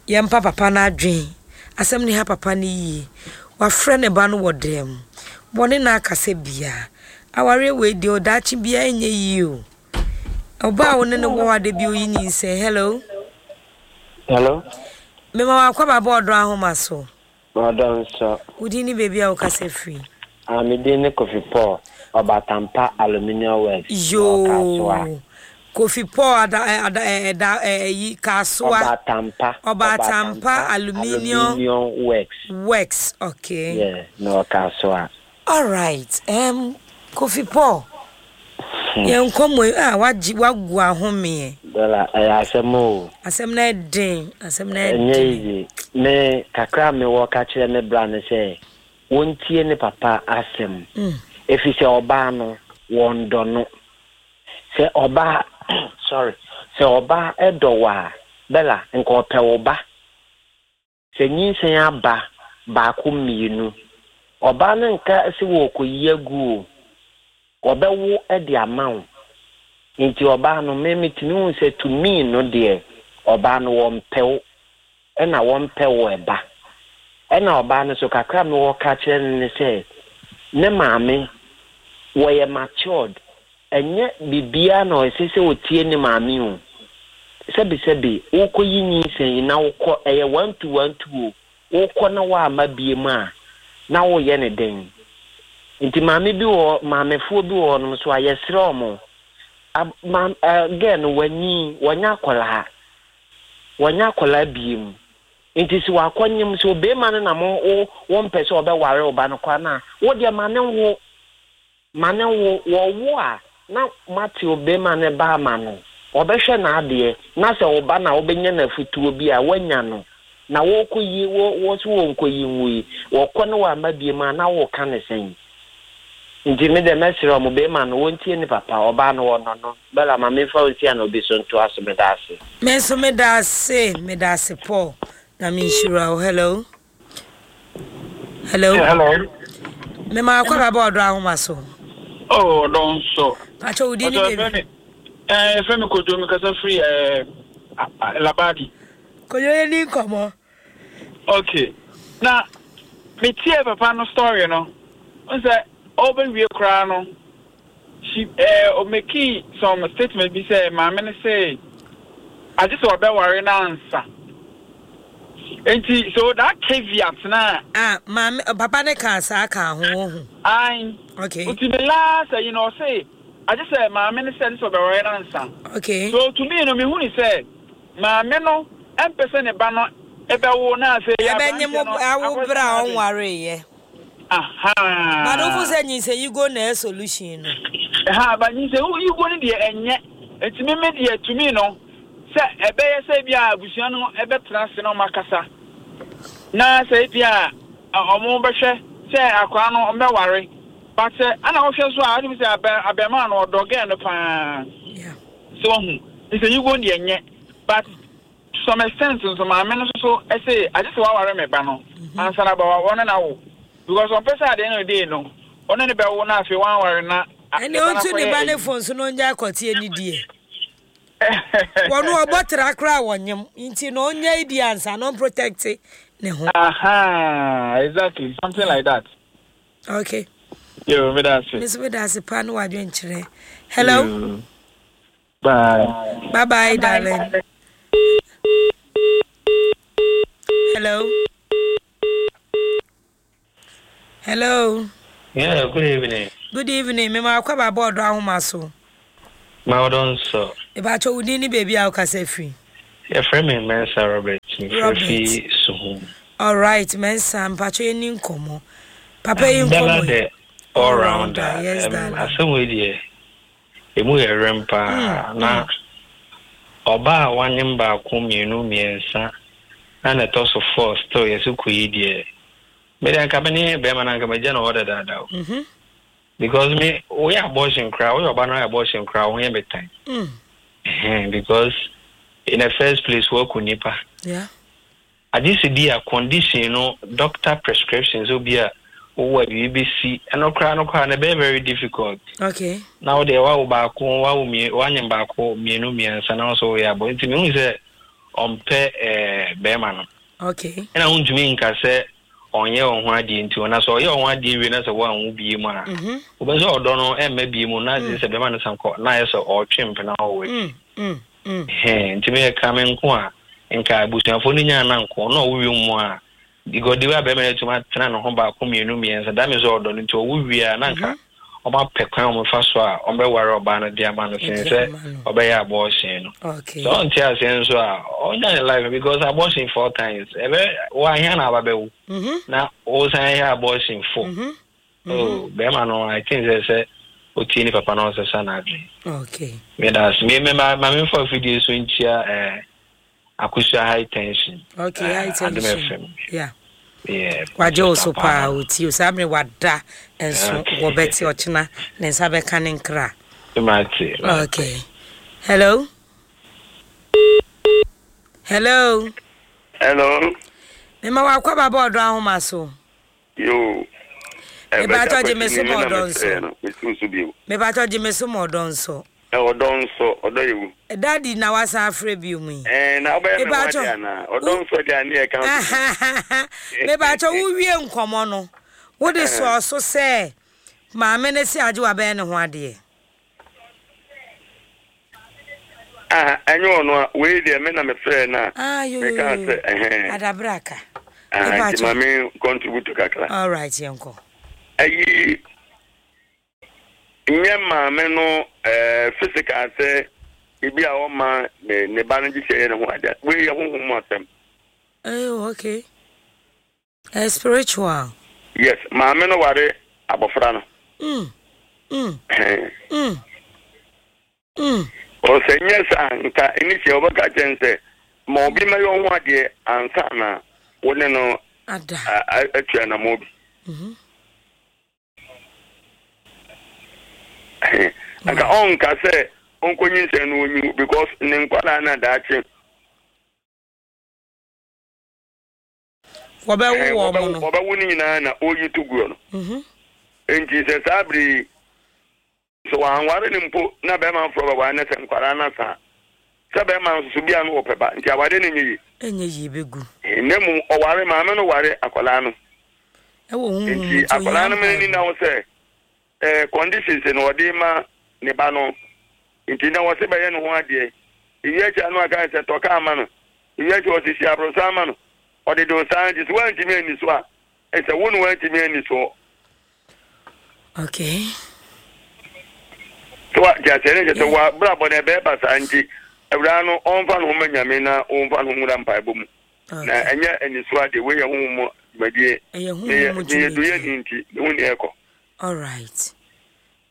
yɛmpa papa no adwen. Asɛm no ha papa no yie. Wafrɛ ne ba no wɔ dan mu. Wɔne no akasa bia. Awareɛ wei deɛ ɔdaakye bia ɛnyɛ yie o. Ɔbaa wo ne no wɔ hɔ ade bi oyi nyinsɛn. Hello. Hello. Mema wakɔ ba bɔ ɔdɔ ahoma so. Ɔdɔ nso. Wo din ne baabi a wokasa firi. Ah, me din ne Kofi Paul, Ɔbatampa Aluminium Works. Yoo. Kofi Paul ada ada ɛda ɛyi Kasoa. Ɔbatampa. Ɔbatampa Aluminium, Aluminium Works. Works, okay. Yeah, na Ɔkasoa. All right. Um, Kofi Paul. Hmm. Yɛn nkɔmmɔ yi a wagye wagu ahomeɛ. Bella, ɛyɛ asɛm o. Asɛm na ɛden, asɛm na ɛden. Ɛnyɛ easy. Me kakra me wɔ ka kyerɛ me bra ne sɛ wɔntie ne papa asɛm. Mm. Ɛfiri sɛ ɔbaa no wɔndɔ no. Sɛ ɔbaa sorry, sɛ ɔbaa ɛdɔ wo a, Bella, nka ɔpɛ wo ba. Sɛ nyinsɛn aba baako mmienu, ɔbaa no nka sɛ wɔrekɔyi agu o. Ɔbɛwo de ama wo. Nti ɔbaa no, me metumi hu sɛ to me no deɛ, ɔbaa no wɔmpɛ wo, ɛna wɔmpɛ wo ɛba. Ɛna ɔbaa no so kakra me wɔ ka kyerɛ no ne sɛ, ne maame wɔyɛ matured. Ɛnyɛ biribiara na ɔsɛ sɛ ɔtie ne maame o. Sɛbisɛbi, wokɔyi nyinsɛn yi na wokɔ, ɛyɛ one two one two o, wokɔ na woama bie mu a, na woyɛ ne den. Nti maame bi wɔ maamefoɔ bi wɔ hɔnom so a yɛsrɛ ɔmo. Ab ma ɛɛ girl no wanyi, wɔnyɛ akwadaa. Wɔnyɛ akwadaa bie mu. Nti sɛ wakɔnyem sɛ obɛrima no na mo wo wɔmpɛ sɛ ɔbɛware wo ba no koraa na wo deɛ ma ne wo ma ne wo wɔwo a na mate obɛrima no ba ama no. Ɔbɛhwɛ n'adeɛ na sɛ wo ba na wobɛnya n'afutuo bi a woanya no na wɔkɔyi wɔ wɔ so wɔnkɔyi nwu yi wɔkɔ ne wɔama bie mu a na wɔka ne sɛn. Nti me deɛ mɛsrɛ ɔmo bɛrima no wɔntie ne papa ɔbaa no wɔnɔ no. Bella ma memfa wo nsi a na obi so ntoa so meda ase. Me nso meda ase, meda ase Paul. Na menhyira wo. Hello. Hello. Hello. Mema akɔ ba bɔ ɔdɔ ahoma so. Oh, ɔdɔ nso. Pacho wo din ne baabi. Eh, fɛ mi Kojo, mi kasa firi eh, Labadi. Kojo yɛ ni nkɔmɔ. Okay. Na me tie papa no story no. N sɛ ɔbɛwie koraa no, she eh, ɔmake some statement bi sɛ maame no sɛ agye sɛ ɔbɛware no ansa. Nti so that caveat na. Ah, maame papa ne ka saa ka ho wɔ ho. Ayi. Okay. Nti the last you know say agye sɛ maame no sɛ ne sɛ ɔbɛware no ansa. Okay. So to me no me hu ni sɛ maame no ɛmpɛ sɛ ne ba no ɛbɛwo na afei yɛ Ɛbɛnye mo awo bere a ɔnwareyɛ. Aha. But wofo sɛ nyinsɛn yi go na ɛ solution no. Ha ba nyinsɛn yi go no deɛ ɛnyɛ. Nti me me deɛ to me no sɛ ɛbɛyɛ sɛ bi a abusua no ɛbɛtena ase na ɔmo akasa. Na sɛ bi a ɔmo bɛhwɛ sɛ akwaraa no ɔmo bɛware. But sɛ ana wohwɛ so a ɔmo sɛ abɛ abɛɛmaa no ɔdɔ gɛɛ no paa. So ɔho nyinsɛn yi go deɛ ɛnyɛ. But to some extent nso maame no nso so ɛsɛ agye sɛ waware me ba no ansa na ba wɔne na wo because ɔmpɛ sɛ adeɛ no de no ɔne ne bɛwo na afei wanware na Ɛne ɔntu ne ba ne phone so na ɔngya akɔteɛ ne die. Wɔno ɔbɔ tra koraa wɔnyem nti na ɔnya di ansa na ɔmprotect ne ho. Aha, exactly, something like that. Okay. Yo, me da ase. Me nso meda ase paa ne wadwenkyerɛ. Hello. Yo. Bye. Bye bye, darling. Hello. Hello. Yeah, good evening. Good evening. Me ma akɔ ba bɔ ɔdɔ ahoma so. Ma ɔdɔ nso. Mepakyɛ wo din ne baabi a wokasa firi. Yɛfrɛ me Mensa Robert. Mefrɛ fi Suhum. All right, Mensa, mpakyɛ yɛni nkɔmmɔ. Papa yi nkɔmmɔ yi. All rounder. Yes, darling. Asɛm wei deɛ emu yɛ rem paa na ɔbaa a wanyem baako mmienu mmiɛnsa na na ɛtɔ so four still yɛsɛ kɔ yi deɛ me deɛ nka me ne bɛrima no anka magya no hɔ dadaada o. Mm-hmm. Because me woyɛ abortion koraa woyɛ ɔba no ayɛ abortion koraa wo ho yɛ me tan. Mm. Because in the first place woaku nipa. Yeah. Agye sɛ bi a condition no doctor prescription sɛ obi a wowɔ a biribi bɛsi ɛno koraa no koraa no ɛbɛyɛ very difficult. Okay. Na wo deɛ wawo baako wawo mmienu wanyem baako mmienu mmiɛnsa na wo nso woyɛ abɔ nti mehu sɛ ɔmpɛ ɛɛ bɛrima no. Okay. Ɛna wontumi nka sɛ ɔnyɛ wɔn ho adeɛ nti ɔna sɛ ɔyɛ wɔn ho adeɛ wie na sɛ wɔanwo bie mu a wobɛ sɛ ɔdɔ no ɛmma bie mu na mm. sɛ bɛrima no san kɔ na ayɛ sɛ ɔretwe mpena wɔ w'akyi. Mm, mm, nti meyɛ ka me nko a nka abusuafoɔ no nyaa na nko na ɔwo wie mu a because de wa bɛrima no atumi atena ne ho baako mmienu mmiɛnsa that means ɔdɔ no nti ɔwo wie a na nka wɔn apɛ kwan a wɔfa so a wɔbɛware ɔbaa no de ama no sen sɛ ɔbɛyɛ abortion no. Sɛ ɔnte aseɛ nso a ɔnya ne life because abortion four times ɛbɛ wahia na aba bɛwo na wosan yɛ abortion four. Oh bɛrima no I think sɛ sɛ otie ne papa na ɔsesa n'adwene. Okay. Meda ase. Me me ma ma memfa afidie so nkyia ɛɛ Akosua high tension. Okay, high tension. Adom F M. Yeah. Yeah. Wagye wo so paa otie o saa bere wada nso wɔbɛte ɔkyena ne nsa bɛka ne nkra. Mate. Okay. Hello. Hello. Hello. Mema wakɔ baba ɔdɔ ahoma so. Yo. Mebatɔ gye me so ma ɔdɔ nso. Mebatɔ gye me so ma ɔdɔ nso. Ɔdɔ nso, ɔdɔ yɛ wu. Daddy na wasan afrɛ bio mu yi. Ɛɛ na wobɛyɛ me ho adeɛ anaa? Ɔdɔ nso deɛ ne yɛ ka nso. Mebatɔ wo wie nkɔmɔ no, wode sɔɔ so sɛ maame no se agye wabɛyɛ ne ho adeɛ. Ah, ɛnyɛ ɔno a, wei deɛ me na mefrɛɛ no a, mekaa sɛ ɛhɛn. Adabraka. Ah, nti ma me contribute kakra. All right, yɛnkɔ. Ayi, nyɛ maame no eh, physical sɛ ebi a ɔma ne ne ba no gye sɛ ɛyɛ ne ho adeɛ. Wei yɛ honhom mu asɛm. Oh, okay. Uh, spiritual. Yes, maame no ware abɔfra no. Mm. Mm. Mm. Mm. Ɔsɛ nyɛ saa nka ɛni sɛ ɔbɛka kyɛn sɛ ma obi mɛyɛ ɔho adeɛ ansa na wo ne no atua anamɔ bi. Mm-hmm. Nka ɔnka sɛ ɔnkɔnyinsɛn no ɔnyiwu because ne nkwadaa no adaakye wɔbɛwo wɔn no wɔbɛwo no nyinaa na ɔyi to guo no. Nti sɛ saa bere yi sɛ wɔanware no mpo na bɛrima foforɔ bɛware no sɛ nkwadaa no asa sɛ bɛrima nso so bia no wɔpɛ ba nti aware no nyɛ yie. Ɛnyɛ yie bɛgu. Na mmom ɔware maame no ware akwadaa no. Ɛwɔ honhom nti akwadaa no mene ni na wo sɛ eh, conditions na ɔde ma ne ba no nti na wɔse bɛyɛ ne ho adeɛ ewi akyi ano aka sɛ tɔ kaa ma no ewi akyi wɔse si aborosan ma no ɔde de saa nti so woantumi anni so a ɛsɛ wo ne woantumi anni soɔ. Okay. So wa ti aseɛ ne kyɛ sɛ wa brabɔ no ɛbɛyɛ basaa nti awuraa no ɔmfa ne ho ma Nyame na ɔmfa ne ho nwura mpaebɔ mu na ɛnyɛ aniso adeɛ wei yɛ honhom mu dwumadie meyɛ meyɛ duyɛni nti mehu nea ɛkɔ. All right.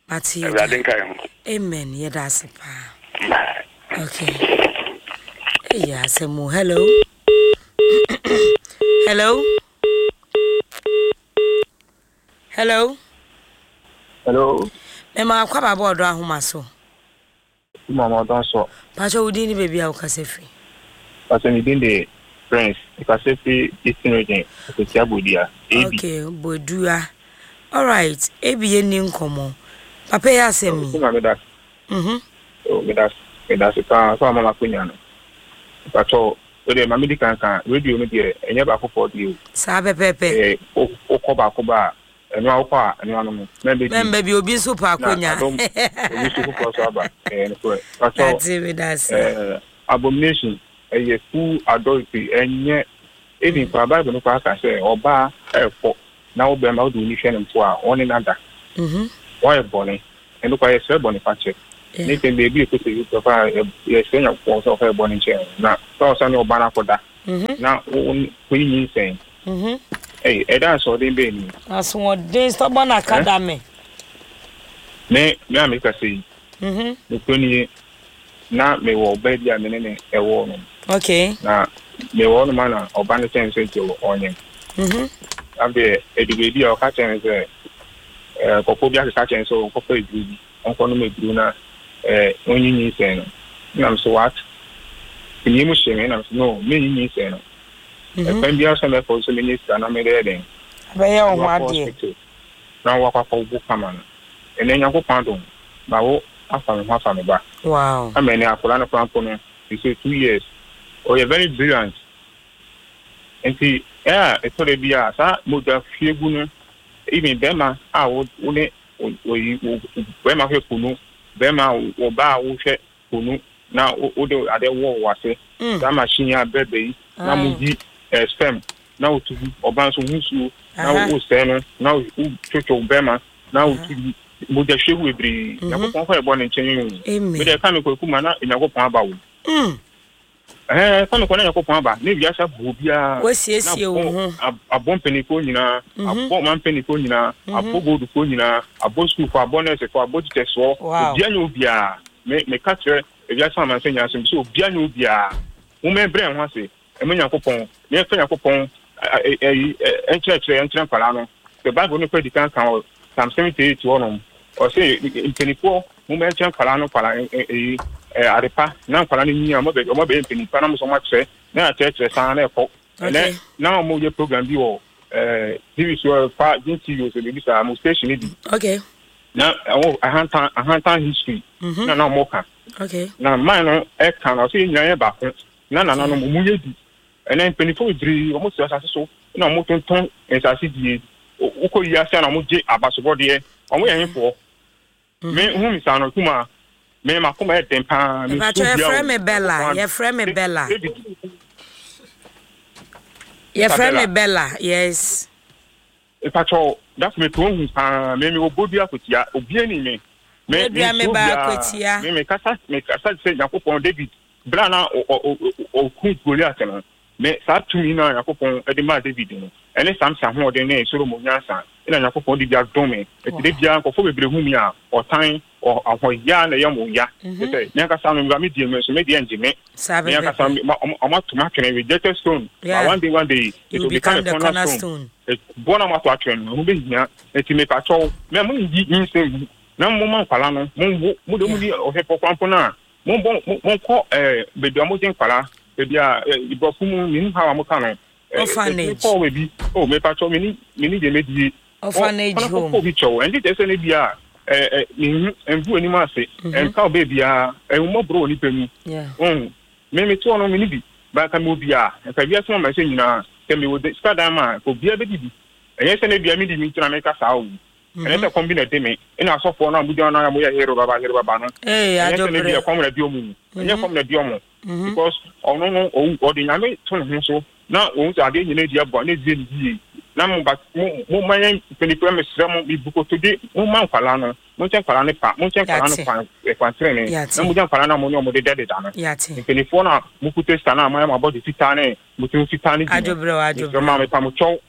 Mate Awurade nka yɛn ho. Amen. Yɛda ase paa. Okay. Ɛyɛ asɛm o. Hello. Hello. Hello. Hello. Mema akɔ aba ɔdɔ ahoma so. Mama ɔdɔ nso. Pacho wo din ne baabi a wokasa firi. Pacho me din de Prince. Mekasa firi Eastern Region, Akwatia Bodua. A B. Okay, Bodua. All right, A B yɛnni nkɔmmɔ. Papa yi asɛm yi. Mama meda. Mhm. Oh, meda meda se paa sɛ wama m'akonya no. Pacho, wo deɛ ma medi kan ka radio no deɛ ɛnyɛ baako fɔ deɛ o. Saa pɛpɛɛpɛ. Eh, wokɔ baako ba a, ɛno a wokɔ a ɛno ano no. Mɛmbɛ bi. Mɛmbɛ bi obi nso pa akonya. Na adom obi nso foforɔ so aba. Ɛyɛ nokorɛ. Pacho, Ate meda ase. eh, abomination ɛyɛ full adultery ɛnyɛ even koraa Bible no koraa ka sɛ ɔbaa ɛrekɔ na wo bɛrima wode w'ani hwɛ no mpo a ɔne no ada. Mhm. Wayɛ bɔne. Ɛno koraa yɛsrɛ bɔne fakyɛ. Ne sɛ beebi ekɔ sɛ yusuf a yɛsrɛ Nyankopɔn sɛ ɔfa ɛbɔ ne nkyɛn na sɛ ɔsa ne ɔba no akɔda na woyi nyinsɛn. Ɛy ɛda asoɔden bɛɛ ni. Asoɔden stubborn academy. Me me a meka sɛ yi. Nokuro nie, na mewɔ ɔbaa bi a me ne ne ɛwɔ no. Okay. Na mewɔ no ma na ɔba no kyɛn sɛ nti ɔnyem. Afei ɛdu baabi a ɔka kyɛn sɛ ɛɛ kɔkɔɔ bi akeka kyɛn sɛ ɔnkɔfa eduru bi, ɔnkɔnom eduru na ɛɛ ɔnyi nyinsɛn no. Nam so what? Ni mu hyɛ me nam so no, me nyi nyinsɛn no. Ɛkwan biara sɛ mɛkɔ so menye sika na mede den. Abɛyɛ wo ho adeɛ. Na wakɔ akɔwo kama no. Ɛnɛ Nyankopɔn adom, ma wo afa me ho afa me ba. Wow. Ama ɛnɛ akwadaa no koraa mpo no, he say two years. Ɔyɛ very brilliant. Nti ɛa ɛtɔ da bi a saa mogya hwie gu no, even bɛrima a wo wo ne oyi bɛrima hwɛ kunu, bɛrima ɔbaa a wohwɛ kunu na wode ade wɔ wɔ ase. Saa machine a bɛbɛ yi na mo yi sperm na wotu gu ɔbaa nso ho nsuo na wosɛe no na wotwotwo bɛrima na wotu gu mogya hwie gu bebree. Nyankopɔn fa ɛbɔ ne nkyɛn o. Mede ɛka me kwaku ma na Nyankopɔn aba wo. Eh, ka me kɔ na Nyankopɔn aba ne wiase abɔ obiara. Wasiesie wo ho. Abɔ mpanimfoɔ nyinaa, abɔ ɔman mpanimfoɔ nyinaa, abɔ goldfoɔ nyinaa, abɔ sukuufoɔ, abɔ nɛɛsefoɔ, abɔ teachersfoɔ. Obiara nyɛ obiara. Me meka kyerɛ ewiase amansan nyinaa sɛ obiara nyɛ obiara. Momma yɛmbrɛ yɛn ho ase ɛma Nyankopɔn, na yɛmfa Nyankopɔn ɛyi ɛnkyerɛkyerɛ ɛnkyerɛ nkwadaa no. The Bible no kɔ adi kan kan wɔ Psalm seventy eight hɔnom. Ɔsɛ mpanimfoɔ momma yɛnkyerɛ nkwadaa no nkwadaa ɛyi adepa na nkwadaa no nyini a ɔmo bɛ ɔmo bɛyɛ mpanimfoɔ na mo nso ɔmo akyerɛ na yɛakyerɛkyerɛ saa na ɛkɔ. Ɛnɛ na ɔmo yɛ program bi wɔ ɛɛ T V so fa Gin T V so biribi saa mo station bi. Okay. Na ɛwɔ ahantan ahantan history. Na na ɔmo ka. Okay. Na man no ɛka na ɔsɛ yɛn nyinaa yɛ baako na nananom ɔmo yɛ di. Ɛnɛ mpanimfoɔ bebree ɔmo si asase so na ɔmo tontɔn nsase die. Wokɔ yi ase na ɔmo gye abasobɔdeɛ. Ɔmo yɛ hefoɔ. Me hu mi saa no kuma me ma kuma yɛ den paa. Me su bia. Yɛfrɛ me Bella. Yɛfrɛ me Bella. Yɛfrɛ me Bella. Yes. Mpatsɔ that's me to hu paa. Me me obo dua kotia. Obi ani me. Me me me ba kotia. Me me kasa me kasa sɛ Nyankopɔn David bra na o o ku Goliath no. Me saa tumi na Nyankopɔn de ma David no. Ɛne Samson ahoɔden ne Solomon nyansa. Na Nyankopɔn de bi adom me. Eti de bia nkɔfo bebree hu mi a ɔtan ɔhɔya na ɛyɛ mo ya. Sɛ me ankasa no me die me so me die ngye me. Me ankasa ɔmo ato m'atwene rejected stone. But one day one day it will become a cornerstone. Bɔ na mo ato atwene no ho behia. Eti me pa kyɛw me mo nyi nyinsɛn gu na mo ma nkwala no mo nwo mo de mo ni ɔhwɛ pɔkwa mpo na mo bɔ mo nkɔ eh beebi a mo gye nkwala beebi a ibrɔfo mu minim how a mo ka no. Orphanage. Oh baby, oh me pacho me ni me ni de me die. Orphanage home. Oh bi chow. Endi je se ne bia eh eh me hu envu anim ase. Enka obe bia enwo bro ni pemu. Mm. Me me to no me ni bi. Ba ka me obi a, enka bia so ma se nyina. Se me wo sika dan ma ko bia be di. Enye se ne bia me di mi ntuna me ka saa o. Enye se kombi na de me. Ina asofo na abuja na mo ye hero baba hero baba no. Eh ajo bre. Enye se ne bia kom na di omu. Enye kom na di omu. Because ono no o de nyame to ne ho so. Na wɔn sɛ adeɛ nyinaa di aboa na ezie ne yie na mo ba mo mo ma yɛn mpanyinfoɔ mesrɛ mo mi bukoto de mo ma nkwalaa no mo nkyɛn nkwalaa no pa mo nkyɛn nkwalaa no kwan kwan tenene na mo gya nkwalaa no a mo ne ɔmo deda deda no mpanyinfoɔ no a mo kuta sika no a mo ayɛ mo abɔde fitaa ne mo ti fitaa ne bi no mesrɛ mo a mepa mo kyɛw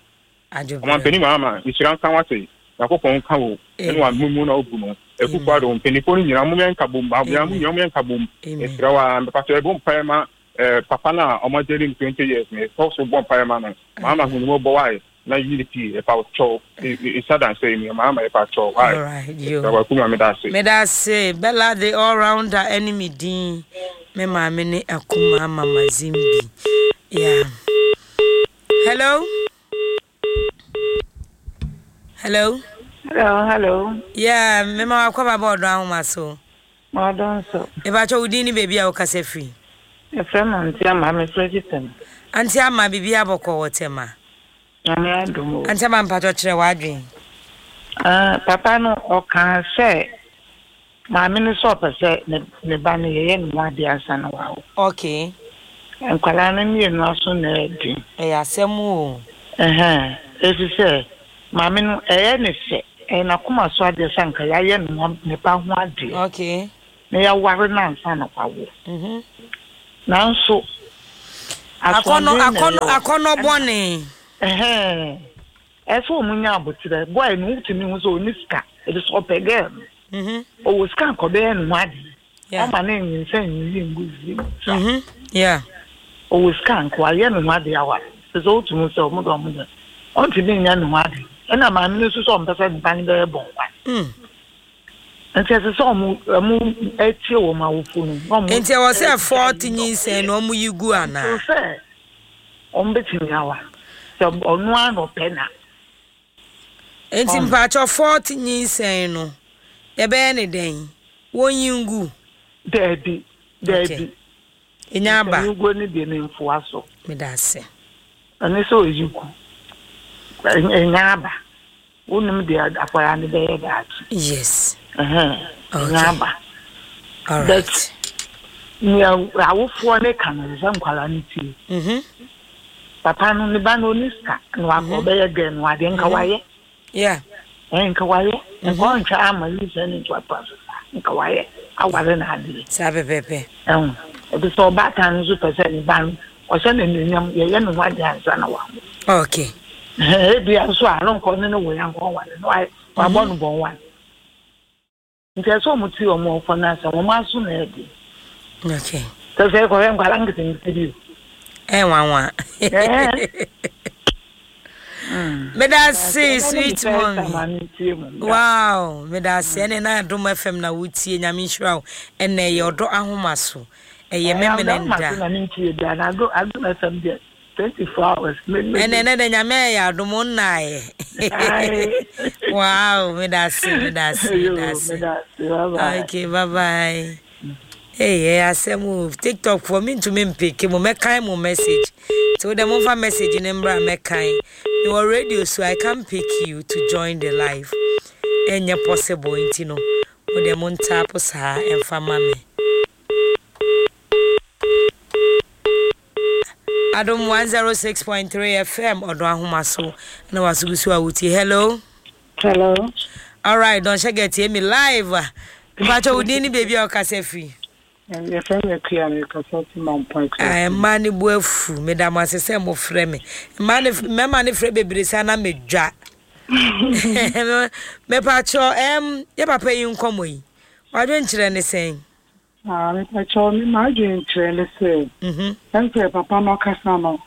ɔmo mpanyin ama nhyira nka wate Nyankopɔn nka wo ɛne wa mu na obu no ekufu ado mpanyinfoɔ no nyinaa mo yɛn nka bom ba mo nyinaa mo yɛn nka bom mesrɛ wa mepa kyɛw ɛbɔ mpaeɛ ma Eh, papa na ọmọ jẹri twenty years ni so bọ mpae ma no mama hu ni mo bọ why na unity e pa cho e sadan say mi mama e pa cho why. All right, yo. Wa ku ma me da se me da se Bella the all rounder enemy din me ma me ne akuma mama Zimbi. Yeah. Hello. Hello. Hello, hello. Yeah, me ma kwa ba bodo ahoma so. Ma don so. E ba cho udin ni baby a wo kasa free. Efrem Auntie Ama me frɛ Tema. Auntie Ama bibi abɔkɔ wɔ Tema. Nyame adom o. Auntie Ama mpatɔ kyerɛ w'adwen. Ah, papa no ɔka sɛ maame no sɛ ɔpɛ sɛ ne ne ba no yɛyɛ ne ho ade ansa na wawo. Okay. Nkwalaa no mmienu aso na ɛden. Ɛyɛ asɛm o. Ɛhɛn, ɛfiri sɛ maame no ɛyɛ ne fɛ, ɛyɛ n'akoma so adeɛ sɛ anka yɛayɛ ne ho ne ba ho adeɛ. Okay. na yɛaware no ansa na wawo. Mhm. Nanso Akɔnɔ asoɔden na akɔnɔ ɛyɛ o. Akɔnɔ bɔne. Ɛhɛn. Ɛsɛ wɔn nya aboterɛ. Boy no wotumi hu sɛ ɔnni sika. Ɛde sɛ ɔpɛ girl no. Mhm. Ɔwɔ sika nka ɔbɛyɛ ne ho adeɛ. Yeah. Ɔma ne nyinsɛn nyiyi ngu wiem sa. Mhm. Yeah. Ɔwɔ sika nka wayɛ ne ho adeɛ aware. Ɛsɛ sɛ wotumi hu sɛ ɔmo de ɔmo de ɔntumi nyɛ ne ho adeɛ. Ɛna maame no nso sɛ ɔmpɛ sɛ ne ba no bɛyɛ bɔnwa. Mm. Nti ɛsɛ sɛ ɔmo ɔmo ɛtie wɔn awofo no na ɔmo Nti ɛwɔ sɛ ɛgyae fourth yi nyinsɛn na ɔmo yi gu anaa? Nti sɛ ɔmo bɛtumi awa sɛ ɔno ara na ɔpɛ na. Nti Ɔmo. mpakyɛ fourth nyinsɛn no yɛbɛyɛ ne dɛn? Wɔnyi ngu? Daabi, Okay. daabi. Enya aba. Nyinsɛn guo no deɛ memfoa so. Meda ase. Ɛne sɛ ɔyi gu. Ɛnya aba. Wonim deɛ akwadaa no bɛyɛ daakye. Yes. Ɛhɛn, ɛnya Okay. aba. All But right. nea awofoɔ ne ka no sɛ nkwadaa no tie. Mhm. Papa no ne ba no ɔni sika na wakɔ Mhm. ɔbɛyɛ gɛ no adeɛ nka Mhm. wayɛ. Yeah. Ɛn nka wayɛ. Nka Mhm. ɔntwa ama nyinsɛn ne ntoatoa so saa. Nka wayɛ aware no adeɛ. Saa pɛpɛɛpɛ. Ɛho. Ɛbi sɛ ɔbaatan no nso pɛ sɛ ne ba no ɔhyɛ no anuonyam yɛyɛ ne ho adeɛ ansa na wawo. Okay. Ɛhɛn, ebia nso a no nkɔ ne ne wo yankɔ ware no wayɛ wabɔ no bɔn wa. Nti ɛsɛ ɔmo tie ɔmo ɔfɔ no asɛm ɔmo aso na ɛdi. Okay. Sɛ sɛ ɛkɔhwɛ nkwadaa nketenkete bi o. Ɛnwanwa. Ɛɛ. Meda ase sweet mommy. Mommy. Wow, meda ase ɛne na Adom F M na wotie. Nyame nhyira wo. Ɛnɛ ɛyɛ ɔdɔ ahoma so. Ɛyɛ memene nda. Na mentie bia na Adom Adom F M deɛ twenty four hours. Ɛnɛ ɛnɛ dɛ Nyame ayɛ adom wo nnaeɛ. Wow, meda ase, meda ase, meda ase. Meda ase. Bye bye. Okay, bye bye. Hey, ɛyɛ asɛm o. TikTok foɔ mentumi mpeke mo mɛkan mo message. Nti wo dɛ momfa message ne mbra mɛkan. Mewɔ radio so I can't pick you to join the live. Ɛnyɛ possible nti no. Mo dɛ mo ntaapo saa ɛmfa ma me. Adom one oh six point three F M ɔdɔ ahoma so na waso gu so a wotie. Hello. Hello. All right, Don Shege tie me live. Mpakyɛ wo din ne baabi a wokasa firi. Yɛfrɛ me Akua, mekasa fi Mampɔn. Ah, mmaa ne bu afu. Meda mo ase sɛ mofrɛ me. Mmaa ne mmarima ne frɛ bebree saa na medwa. Mepakyɛ ɛm yɛ papa yi nkɔmmɔ yi. Wadwenkyerɛ ne sɛn? Ah, mepakyɛ me m'adwenkyerɛ ne sɛ Mhm. ɛnsɛ papa no ɔkasa no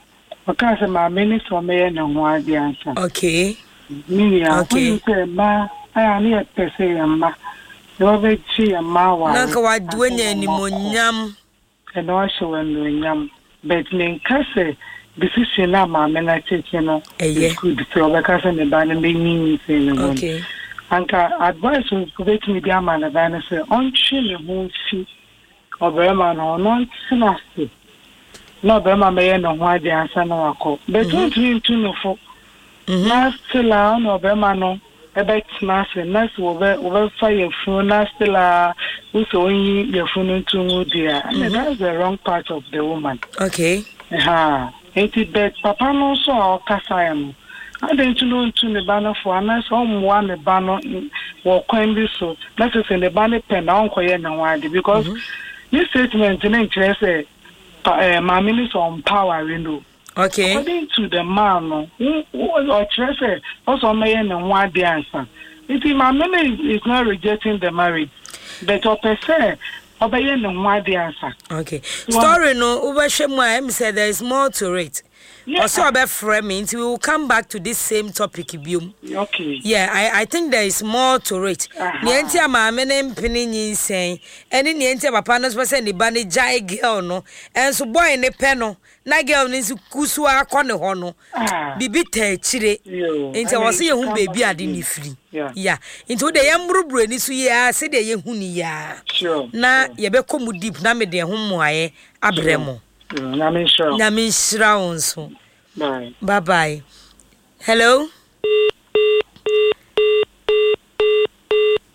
ɔkaa sɛ maame ne sɛ ɔmɛyɛ ne ho adeɛ ansa. Okay. Me nua, Okay. wonim sɛ mmaa ayɛ a ne yɛpɛ sɛ yɛn mma yɛbɛgye yɛn mma aware. Na nka wad- wanya animonyam. Ɛna wahyɛ wɔ anuonyam, but menka sɛ decision a maame no akyekye no Ɛyɛ. is good sɛ ɔbɛka sɛ ne ba no bɛnyi nyinsɛn ne ho no. Okay. Anka advice a wobɛtumi de ama ne ba no sɛ ɔntwe ne ho mfi ɔbarima no ho na ɔntena ase na ɔbarima bɛyɛ ne ho adeɛ ansa na wakɔ, but wontumi ntu no fo na still a ɔne ɔbarima no ɛbɛtena ase na sɛ wɔbɛ wɔbɛfa yɛfunu na still a wosɛ ɔnyi yɛfunu no nto ngu deɛ a, ɛnna that's the wrong part of the woman. Okay. Ha nti, but papa no nso a ɔkasaeɛ no, adɛn nti na ɔntu ne ba no fo anaasɛ ɔmmoa ne ba no n- wɔ kwan bi so na sɛ sɛ ne ba no pɛ na ɔnkɔyɛ ne ho ade, because ne statement ne nkyerɛ sɛ pa ɛɛ maame no sɛ ɔmpa aware no. Okay. According to the man no, wo- wo- ɔkyerɛ sɛ ɔsɛ ɔmɛyɛ ne ho ade ansa, nti maame no is is not rejecting the marriage, but ɔpɛ sɛ ɔbɛyɛ ne ho ade ansa. Okay. Story no wobɛhwɛ mu a ɛm sɛ there is more to it. Ɔsɛ ɔbɛfrɛ me nti we will come back to this same topic biom. Okay. Yeah, I, I think there is more to it. Nea nti a maame ne mpene nyinsɛn ɛne nea nti a papa no nso pɛ sɛ ne ba ne gyae girl no, ɛnso boy ne pɛ no na girl no nso ku so akɔ ne hɔ no, Ah. biribi ta akyire. Yo, nti ɛwɔ sɛ yɛhu baabi ade ne firi. Yeah. Ya, nti wode yɛmborɔborɔ ani so yie a sɛdeɛ yɛhu ne yia Sure. na yɛbɛkɔ mu deep na mede ɛho mmoaeɛ abrɛ mo. Mm, Nyame nhyira wo. Nyame nhyira wo nso. Bye. Bye bye. Hello,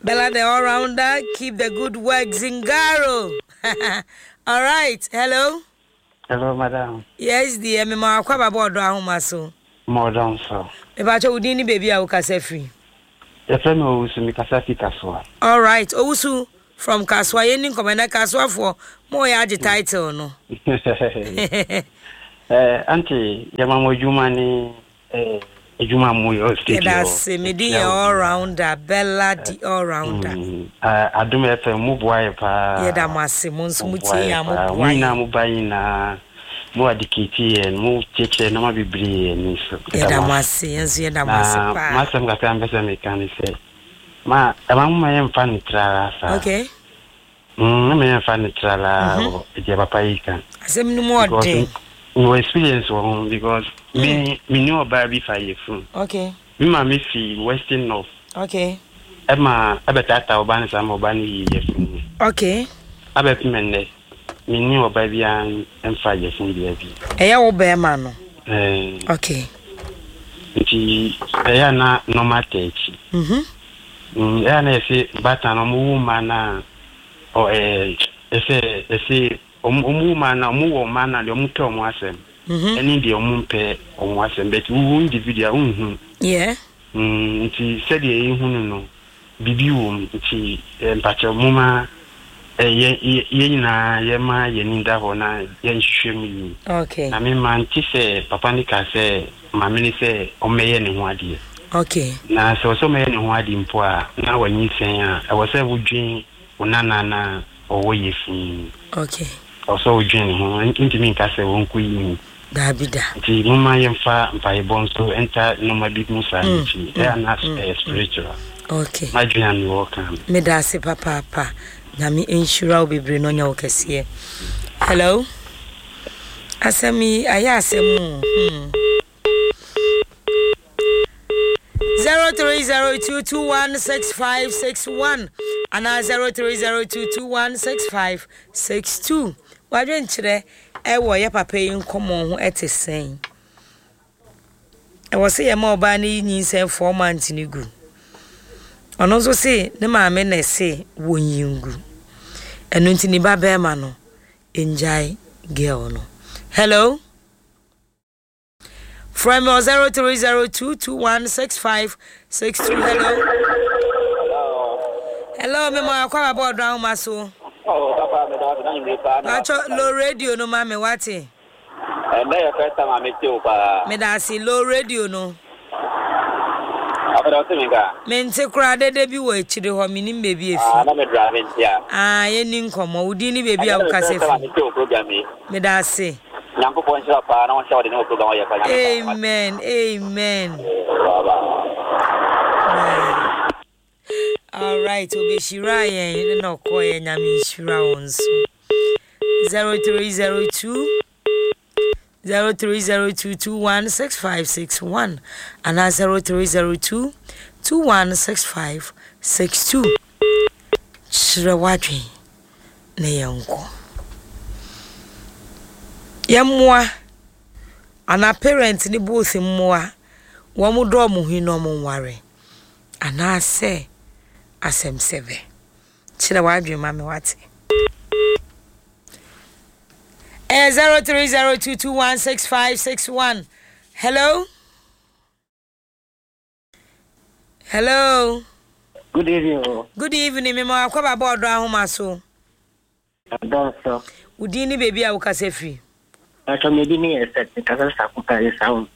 Bella the all rounder, keep the good work, Zingaro. All right, hello. Hello, madam. Yes dear, mema akɔ ababɔ ɔdɔ ahoma so. Madam, so. Mepakyɛ wo din ne baabi a wokasa firi. Yɛfrɛ me Owusu, mekasa fi Kasoa. All right, Owusu. from Kasoa. Yɛnni nkɔmmɔ ɛnɛ Kasoafoɔ mo yɛ agye title no. Eh, auntie, yɛma mo adwuma ne eh, adwuma mo yɛ studio. Yɛda ase, me din yɛ all rounder, Bella the all rounder. Mm, uh, Adom F M mo boa yɛ paa. Yɛda mo ase, mo nso mo tie yɛn a mo boa yɛn. Mo nyinaa mo ba nyinaa, mo adikiti yɛn, mo kyerɛkyerɛ nneɛma bebree yɛn ni so. Yɛda mo ase, yɛn nso yɛda mo ase paa. Na m'asɛm kakra mpɛ sɛ meka ne sɛ, ma ɛma mo ma yɛmfa ne trara saa. Okay. Mm, na yɛmfa ne trara wɔ deɛ papa yi ka. Asɛm no mu ɔden. Mewɔ experience wɔ ho because me me ne ɔbaa bi fa yafunu. Okay. Me maame fi Western North. Okay. Ɛma ɛbɛtaataa ɔbaa no saa ma ɔbaa no yii yafunu no. Okay. Abɛpem ɛnnɛ, me ne ɔbaa biara mfa yafunu biara bi. Ɛyɛ wo bɛrima no? Ɛɛ. Okay. Nti ɛyɛ a na nneɛma ata akyi. Mhm. Mm, ɛyɛ a na yɛse baatan no ɔmo wo mma no a, ɔ ɛɛ ɛsɛ ɛse ɔmo ɔmo wo mma no a, ɔmo wɔ mma no a deɛ ɔmo pɛ ɔmo asɛm ɛne deɛ ɔmo mpɛ ɔmo asɛm but wo individual wonhu. Yeah. Mm, nti sɛdeɛ yɛhu no no biribi wɔ mu nti eh, mpakyɛw momma eh, yɛ yɛ yɛn nyinaa yɛma yɛn ani da hɔ na yɛnhwehwɛ mu yie. Okay. Na me mante sɛ papa no kaa sɛ maame no sɛ ɔmmɛyɛ ne ho adeɛ. Okay. Na sɛ ɔsɛ ɔmmɛyɛ ne ho adeɛ mpo a na wanyinsɛn a, ɛwɔ sɛ wodwen wo nana no a ɔwɔ yafunu mu. Okay. Ɛwɔ sɛ wodwen ne ho, ntumi nka sɛ ɔnkɔyi mu. Daabi da. Nti momma yɛmfa mpaebɔ nso nta nnoɔma bi mu saa no akyi. Ɛyɛ a na ɛyɛ spiritual. Okay. M'adwene a mewɔ ka no. Meda ase papaapa. Nyame nhyira wo bebree na ɔnyɛ wo kɛseɛ. Hello. Asɛm yi ayɛ asɛm o. Hmm. Zero three zero two two one six five six one anaa zero three zero two two one six five six two. Wadwenkyerɛ ɛwɔ yɛ papa yi nkɔmɔ ho ɛte sɛn? Ɛwɔ sɛ yɛma ɔbaa no yi nyinsɛn four months no gu. Ɔno nso se ne maame na ɛse wɔnyi ngu. Ɛno nti ne ba bɛrima no ngyae girl no. Hello. Frɛ me wɔ zero three zero two two one six five six two. Hello. Hello, me mo akɔ aba ɔdɔ ahoma so. Oh, papa, me da na nyimire paa. Pacho low radio no ma me wate. Ɛnɛ yɛ first time a mete wo paa. Me da ase low radio no. Afei ɔte me nka. Mente koraa dede bi wɔ akyire hɔ menim baabi efi. Ah, na me drive nti a. Ah, yɛnni nkɔmmɔ. Wo din ne baabi a wokasa Ɛnɛ yɛ first time a fi. mete wo program yi. Me da ase. Nyankopɔn nhyira paa na ɔnhyɛ ɔde ne wɔ program ɔyɛ pa Nyame pa. Amen, amen. Bye bye. All right, obehyira yɛn na ɔkɔ yɛ Nyame nhyira wo nso. Zero three zero two zero three zero two two one six five six one anaa zero three zero two two one six five six two. Kyerɛ w'adwen na yɛnkɔ. Yɛmmoa anaa parent ne both mmoa wɔn dɔ wɔn ho na wɔn nware anaasɛ asɛm sɛbɛ. Kyerɛ w'adwen ma me wate. Ɛyɛ zero three zero two two one six five six one. Hello. Hello. Good evening. o. Good evening. Me ma akɔ baba ɔdɔ ahoma so. Adɔnso. Wo din ne baabi a wokasa firi. Atwa me din yɛ sɛ kasa sakuta yɛ saa.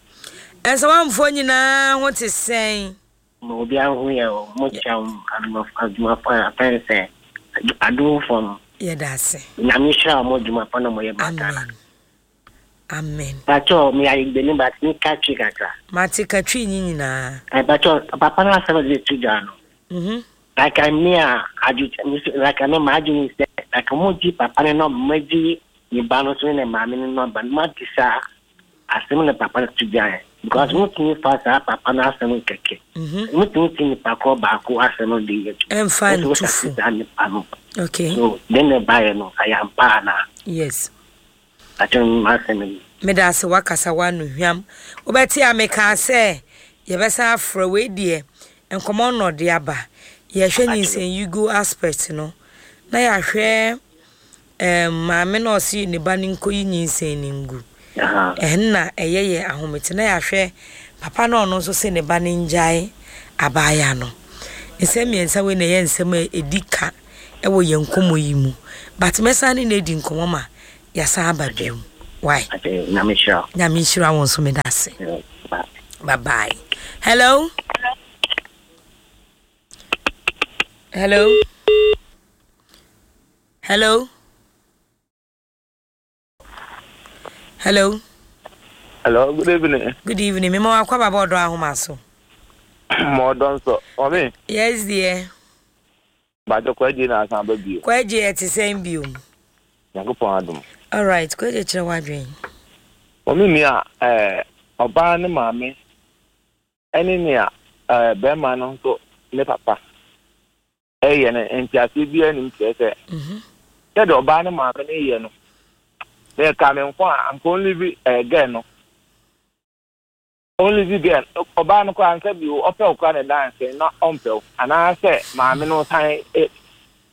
Ɛnsɛwamfoɔ nyinaa ho te sɛn. Ma obi ahu yɛ o. Mo kyia adwumafo a apɛn sɛ adomfo no. Yɛda ase. Nyame hyira mo adwuma pa na mo yɛ ma Ghana. Amen. Pacho me ayɛ gbeni but me ka twi kakra. Mate ka twi nyi nyinaa. Eh, Pacho papa na asɛm de to dwa no. Mhm. Like me a adwo like me ma adwene sɛ like mo gye papa ne nɔmba mo gye ne ba no so ne maame ne nɔmba no ma di saa asɛm na papa no to dwa yɛ because mo tumi fa saa papa no asɛm kɛkɛ. Mo tumi ti nipa korɔ baako asɛm de yɛ adwuma. Ɛmfa Ɛsɛ wo nto fo. saa nipa no. Okay. So den na ɛbaeɛ no ɛyɛ ampa anaa? Yes. Pacho ma asɛm yi. Meda ase wakasa w'ano hwam. Wobɛte a mekaa sɛ yɛbɛsan afrɛ wei deɛ nkɔmmɔ na ɔde aba. Yɛhwɛ nyinsɛn aspect no na yɛahwɛ um, maame na ɔse ne ba no nkɔyi nyinsɛn no ngu. Ɛno na ɛyɛ yɛ ahomete na yɛahwɛ papa na ɔno nso se ne ba no ngyae abaaya no. Nsɛm mmiɛnsa wei na ɛyɛ nsɛm a ɛdi ka Ɛwɔ yɛn nkɔmmɔ yi mu. But mɛsan ne no adi nkɔmmɔ ma yɛasan aba bio. Why? Nyame nhyira wo. Nyame nhyira wo nso, meda ase. Bye bye. Hello. Hello. Hello. Hello. Hello, good evening. Good evening. Mema wakɔ baba ɔdɔ ahoma so. Ma ɔdɔ nso. Ɔme. Yes dear. Bàjẹ́ Kwagye na asan aba bio. Kwagye ɛte sɛn bio? Nyankopɔn adom. All right, Kwagye kyerɛ w'adwene. Ɔme nua ɛɛ ɔbaa ne maame ɛne nea ɛɛ bɛrima no nso ne papa ɛyɛ no nteaseɛ biara anim kyerɛ sɛ sɛdeɛ ɔbaa ne maame no yɛ no na ɛka me nko a anka ɔnlivi ɛɛ gɛɛ no ɔnlivi gɛɛ no ɔbaa no koraa ansa bio ɔpɛ wo koraa na ɛda nsɛn na ɔmpɛ wo anaasɛ maame no san ɛ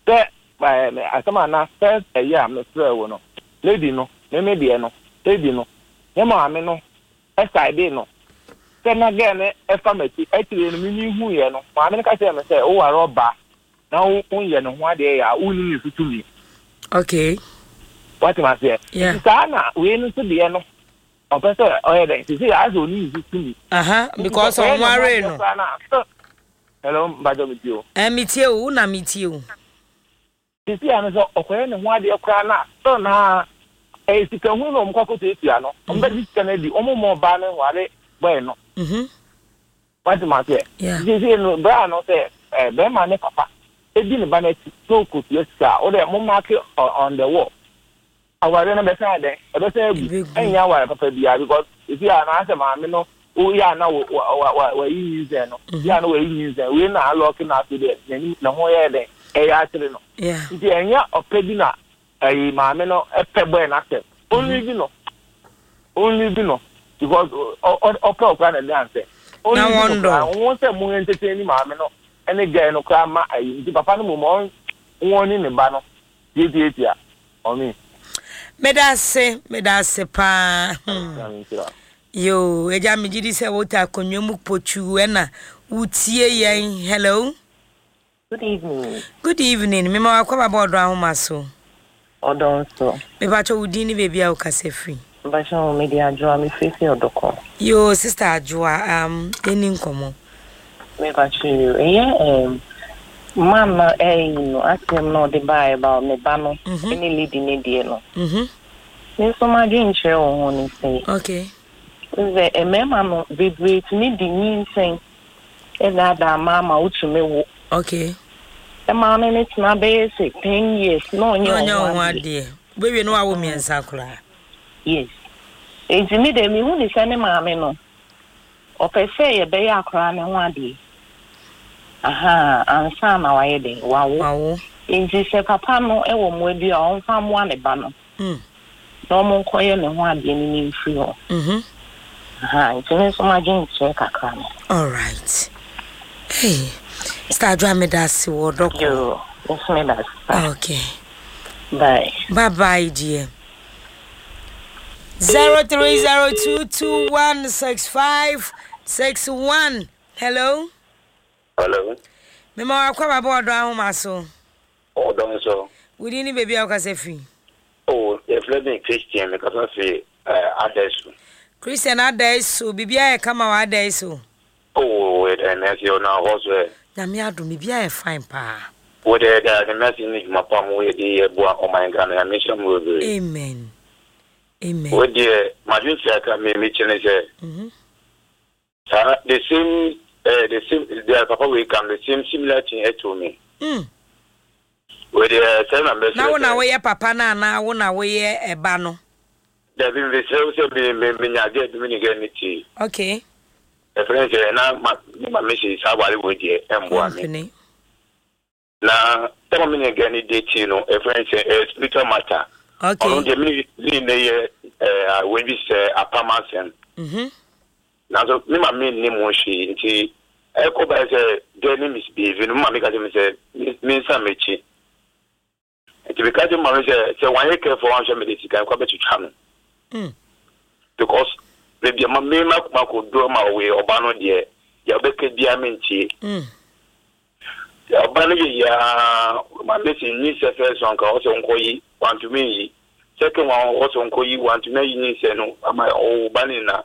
sɛ ɛɛ asɛm a na first ɛyɛ a mefrɛ wo no lady no meme deɛ no lady no ne maame no ɛsaede no sɛ na gɛɛ no ɛfa m'akyi akyire no mimi huiɛ no maame no ka kyerɛ me sɛ woware ɔbaa na wonyɛ ne ho adeɛ yɛ a wonni ne so tumi. Okay. Wate maseɛ? Nti saa na wei no nso deɛ no ɔpɛ sɛ ɔyɛ dɛn sisi yɛ asɛ ɔni ne so tumi. Aha, because ɔnwaree no. Hello, Mbajo metie o. Eh, metie o, wo na metie o. Sisi yɛ no sɛ ɔkɔyɛ ne ho adeɛ koraa na still na ɛyɛ sika hu na ɔmo kɔ akɔtuatua no ɔmo bɛgye sika no adi ɔmo mma ɔbaa no nware bɔe no. Wate maseɛ? Sisi no bra no sɛ bɛrima ne papa edi ne ba n'akyi na ɔkɔtua sika a wode mo mark on the wall. Aware no bɛsan dɛn ɛbɛsan agu ɛnyɛ aware papa biara because esi a na asɛ maame no woyɛ a na wayi nyinsɛn no yɛ a na wayi nyinsɛn wei na alɔke na afei deɛ n'anim ne ho yɛ dɛn ɛyɛ akyere no nti ɛnyɛ ɔpɛ bi na ɛyi maame no ɛpɛ bɔɛ n'asɛm only bi no only bi no because ɔpɛ ɔkora na ɛde ansɛ only bi no koraa wɔn sɛ mo entertain ni maame no ɛne gɛɛ no koraa ma ɛyi nti papa no mo ma wɔn ne ne ba no tietietia ɔmi. Medase, medase paa. Hmm. Yo, eja me gidi sɛ wota akonnwa mu potu ɛna wotie yɛn. Hello. Good evening. Good evening. Mema wakɔ baba ɔdɔ ahoma so. Ɔdɔ nso. Mepakyɛ wo din ne baabi a wokasa firi. Mepakyɛ wo mede Adwoa mefiri fi Ɔdɔkɔ. Yo, sister Adwoa, um, yɛni nkɔmmɔ. Mepakyɛ yo, ɛyɛ um, man na ɛyi no asɛm na ɔde baa ɛba ne ba no ɛne lady ne deɛ no. Mhm. Me nso m'adwene kyerɛ wɔ ho ne sɛ. Okay. Sɛ mmarima no bebree tumi di nyinsɛn ɛdaadaa mmaa ma wotumi wo. Okay. Ɛmaa no ne tena bɛyɛ sɛ ten years na ɔnyɛ ɔho adeɛ. Wobɛwie no wawo mmiɛnsa koraa. Yes. Nti mi de mihu ne sɛ ne maame no ɔpɛ sɛ yɛbɛyɛ akwaraa ne ho adeɛ. Aha, ansa na wayɛ den wawo. Wawo. Nti sɛ papa no ɛwɔ mmoa bi a ɔmfa mmoa ne ba no. Mm. Na ɔmo nkɔyɛ ne ho adeɛ no ne mfiri hɔ. Mhm. Aha, nti me nso m'adwene kyerɛ kakra no. All right. Hey, Sister Adwoa medase wɔ Ɔdɔkɔ. Yo, nso meda ase. Okay. Bye. Bye bye, dear. Zero three zero two two one six five six one. Hello. Hello. Mema wakɔ baba ɔdɔ ahoma so. Ɔdɔ nso. Wodi ni baabi a wokasa firi. Oh, yɛfrɛ me Christian, mekasa fi Adaiso. Christian Adaiso, biribiara yɛ kama wɔ Adaiso. Oh, ɛnɛ sɛ ɔna hɔ so ɛ. Nyame adom, biribiara yɛ fine paa. Wode da ne mɛsi ne dwuma pa mo yɛ de yɛ boa ɔman Ghana, Nyame nhyira mo bebree. Amen. Amen. Wo deɛ, madwen kyerɛ aka me mekyerɛ ne sɛ. Mhm. Saa the same eh, the same the papa we come the same similar thing to me. Mm. Wo deɛ sɛ na mbɛsrɛ. Na wo na woyɛ papa na na wo na woyɛ ɛba no. Dabi mbɛsrɛ sɛ me me me nya gɛ bi me ne gɛ ne ti. Okay. Ɛfrɛ sɛ na ma me ma me sɛ saa ware wo deɛ ɛmboa me. Na sɛ ma me ne gɛ ne de ti no ɛfrɛ sɛ eh, spiritual matter. Okay. Ɔno deɛ me ne ne yɛ eh we bi sɛ apam asɛm. Mhm. Na so me ma me nni mu hwee nti ɛkɔ ba sɛ gɛ ne misbehave no ma me ka kyerɛ me sɛ me nsa m'akyi. Nti me ka kyerɛ ma me sɛ sɛ wanyɛ careful wanhwɛ me de sika nkɔ bɛtwitwa no. Mm. Because baabi a ma me ma ma ko do ma we ɔba no deɛ deɛ ɔbɛka biara me ntie. Mm. Ɔba no yɛ yiaa maame si nyinsɛ first one ka ɔsɛ nkɔ yi wantumi yi, second one ɔsɛ nkɔ yi wantumi ayi nyinsɛ no ama ɔwɔ ba ne nyinaa.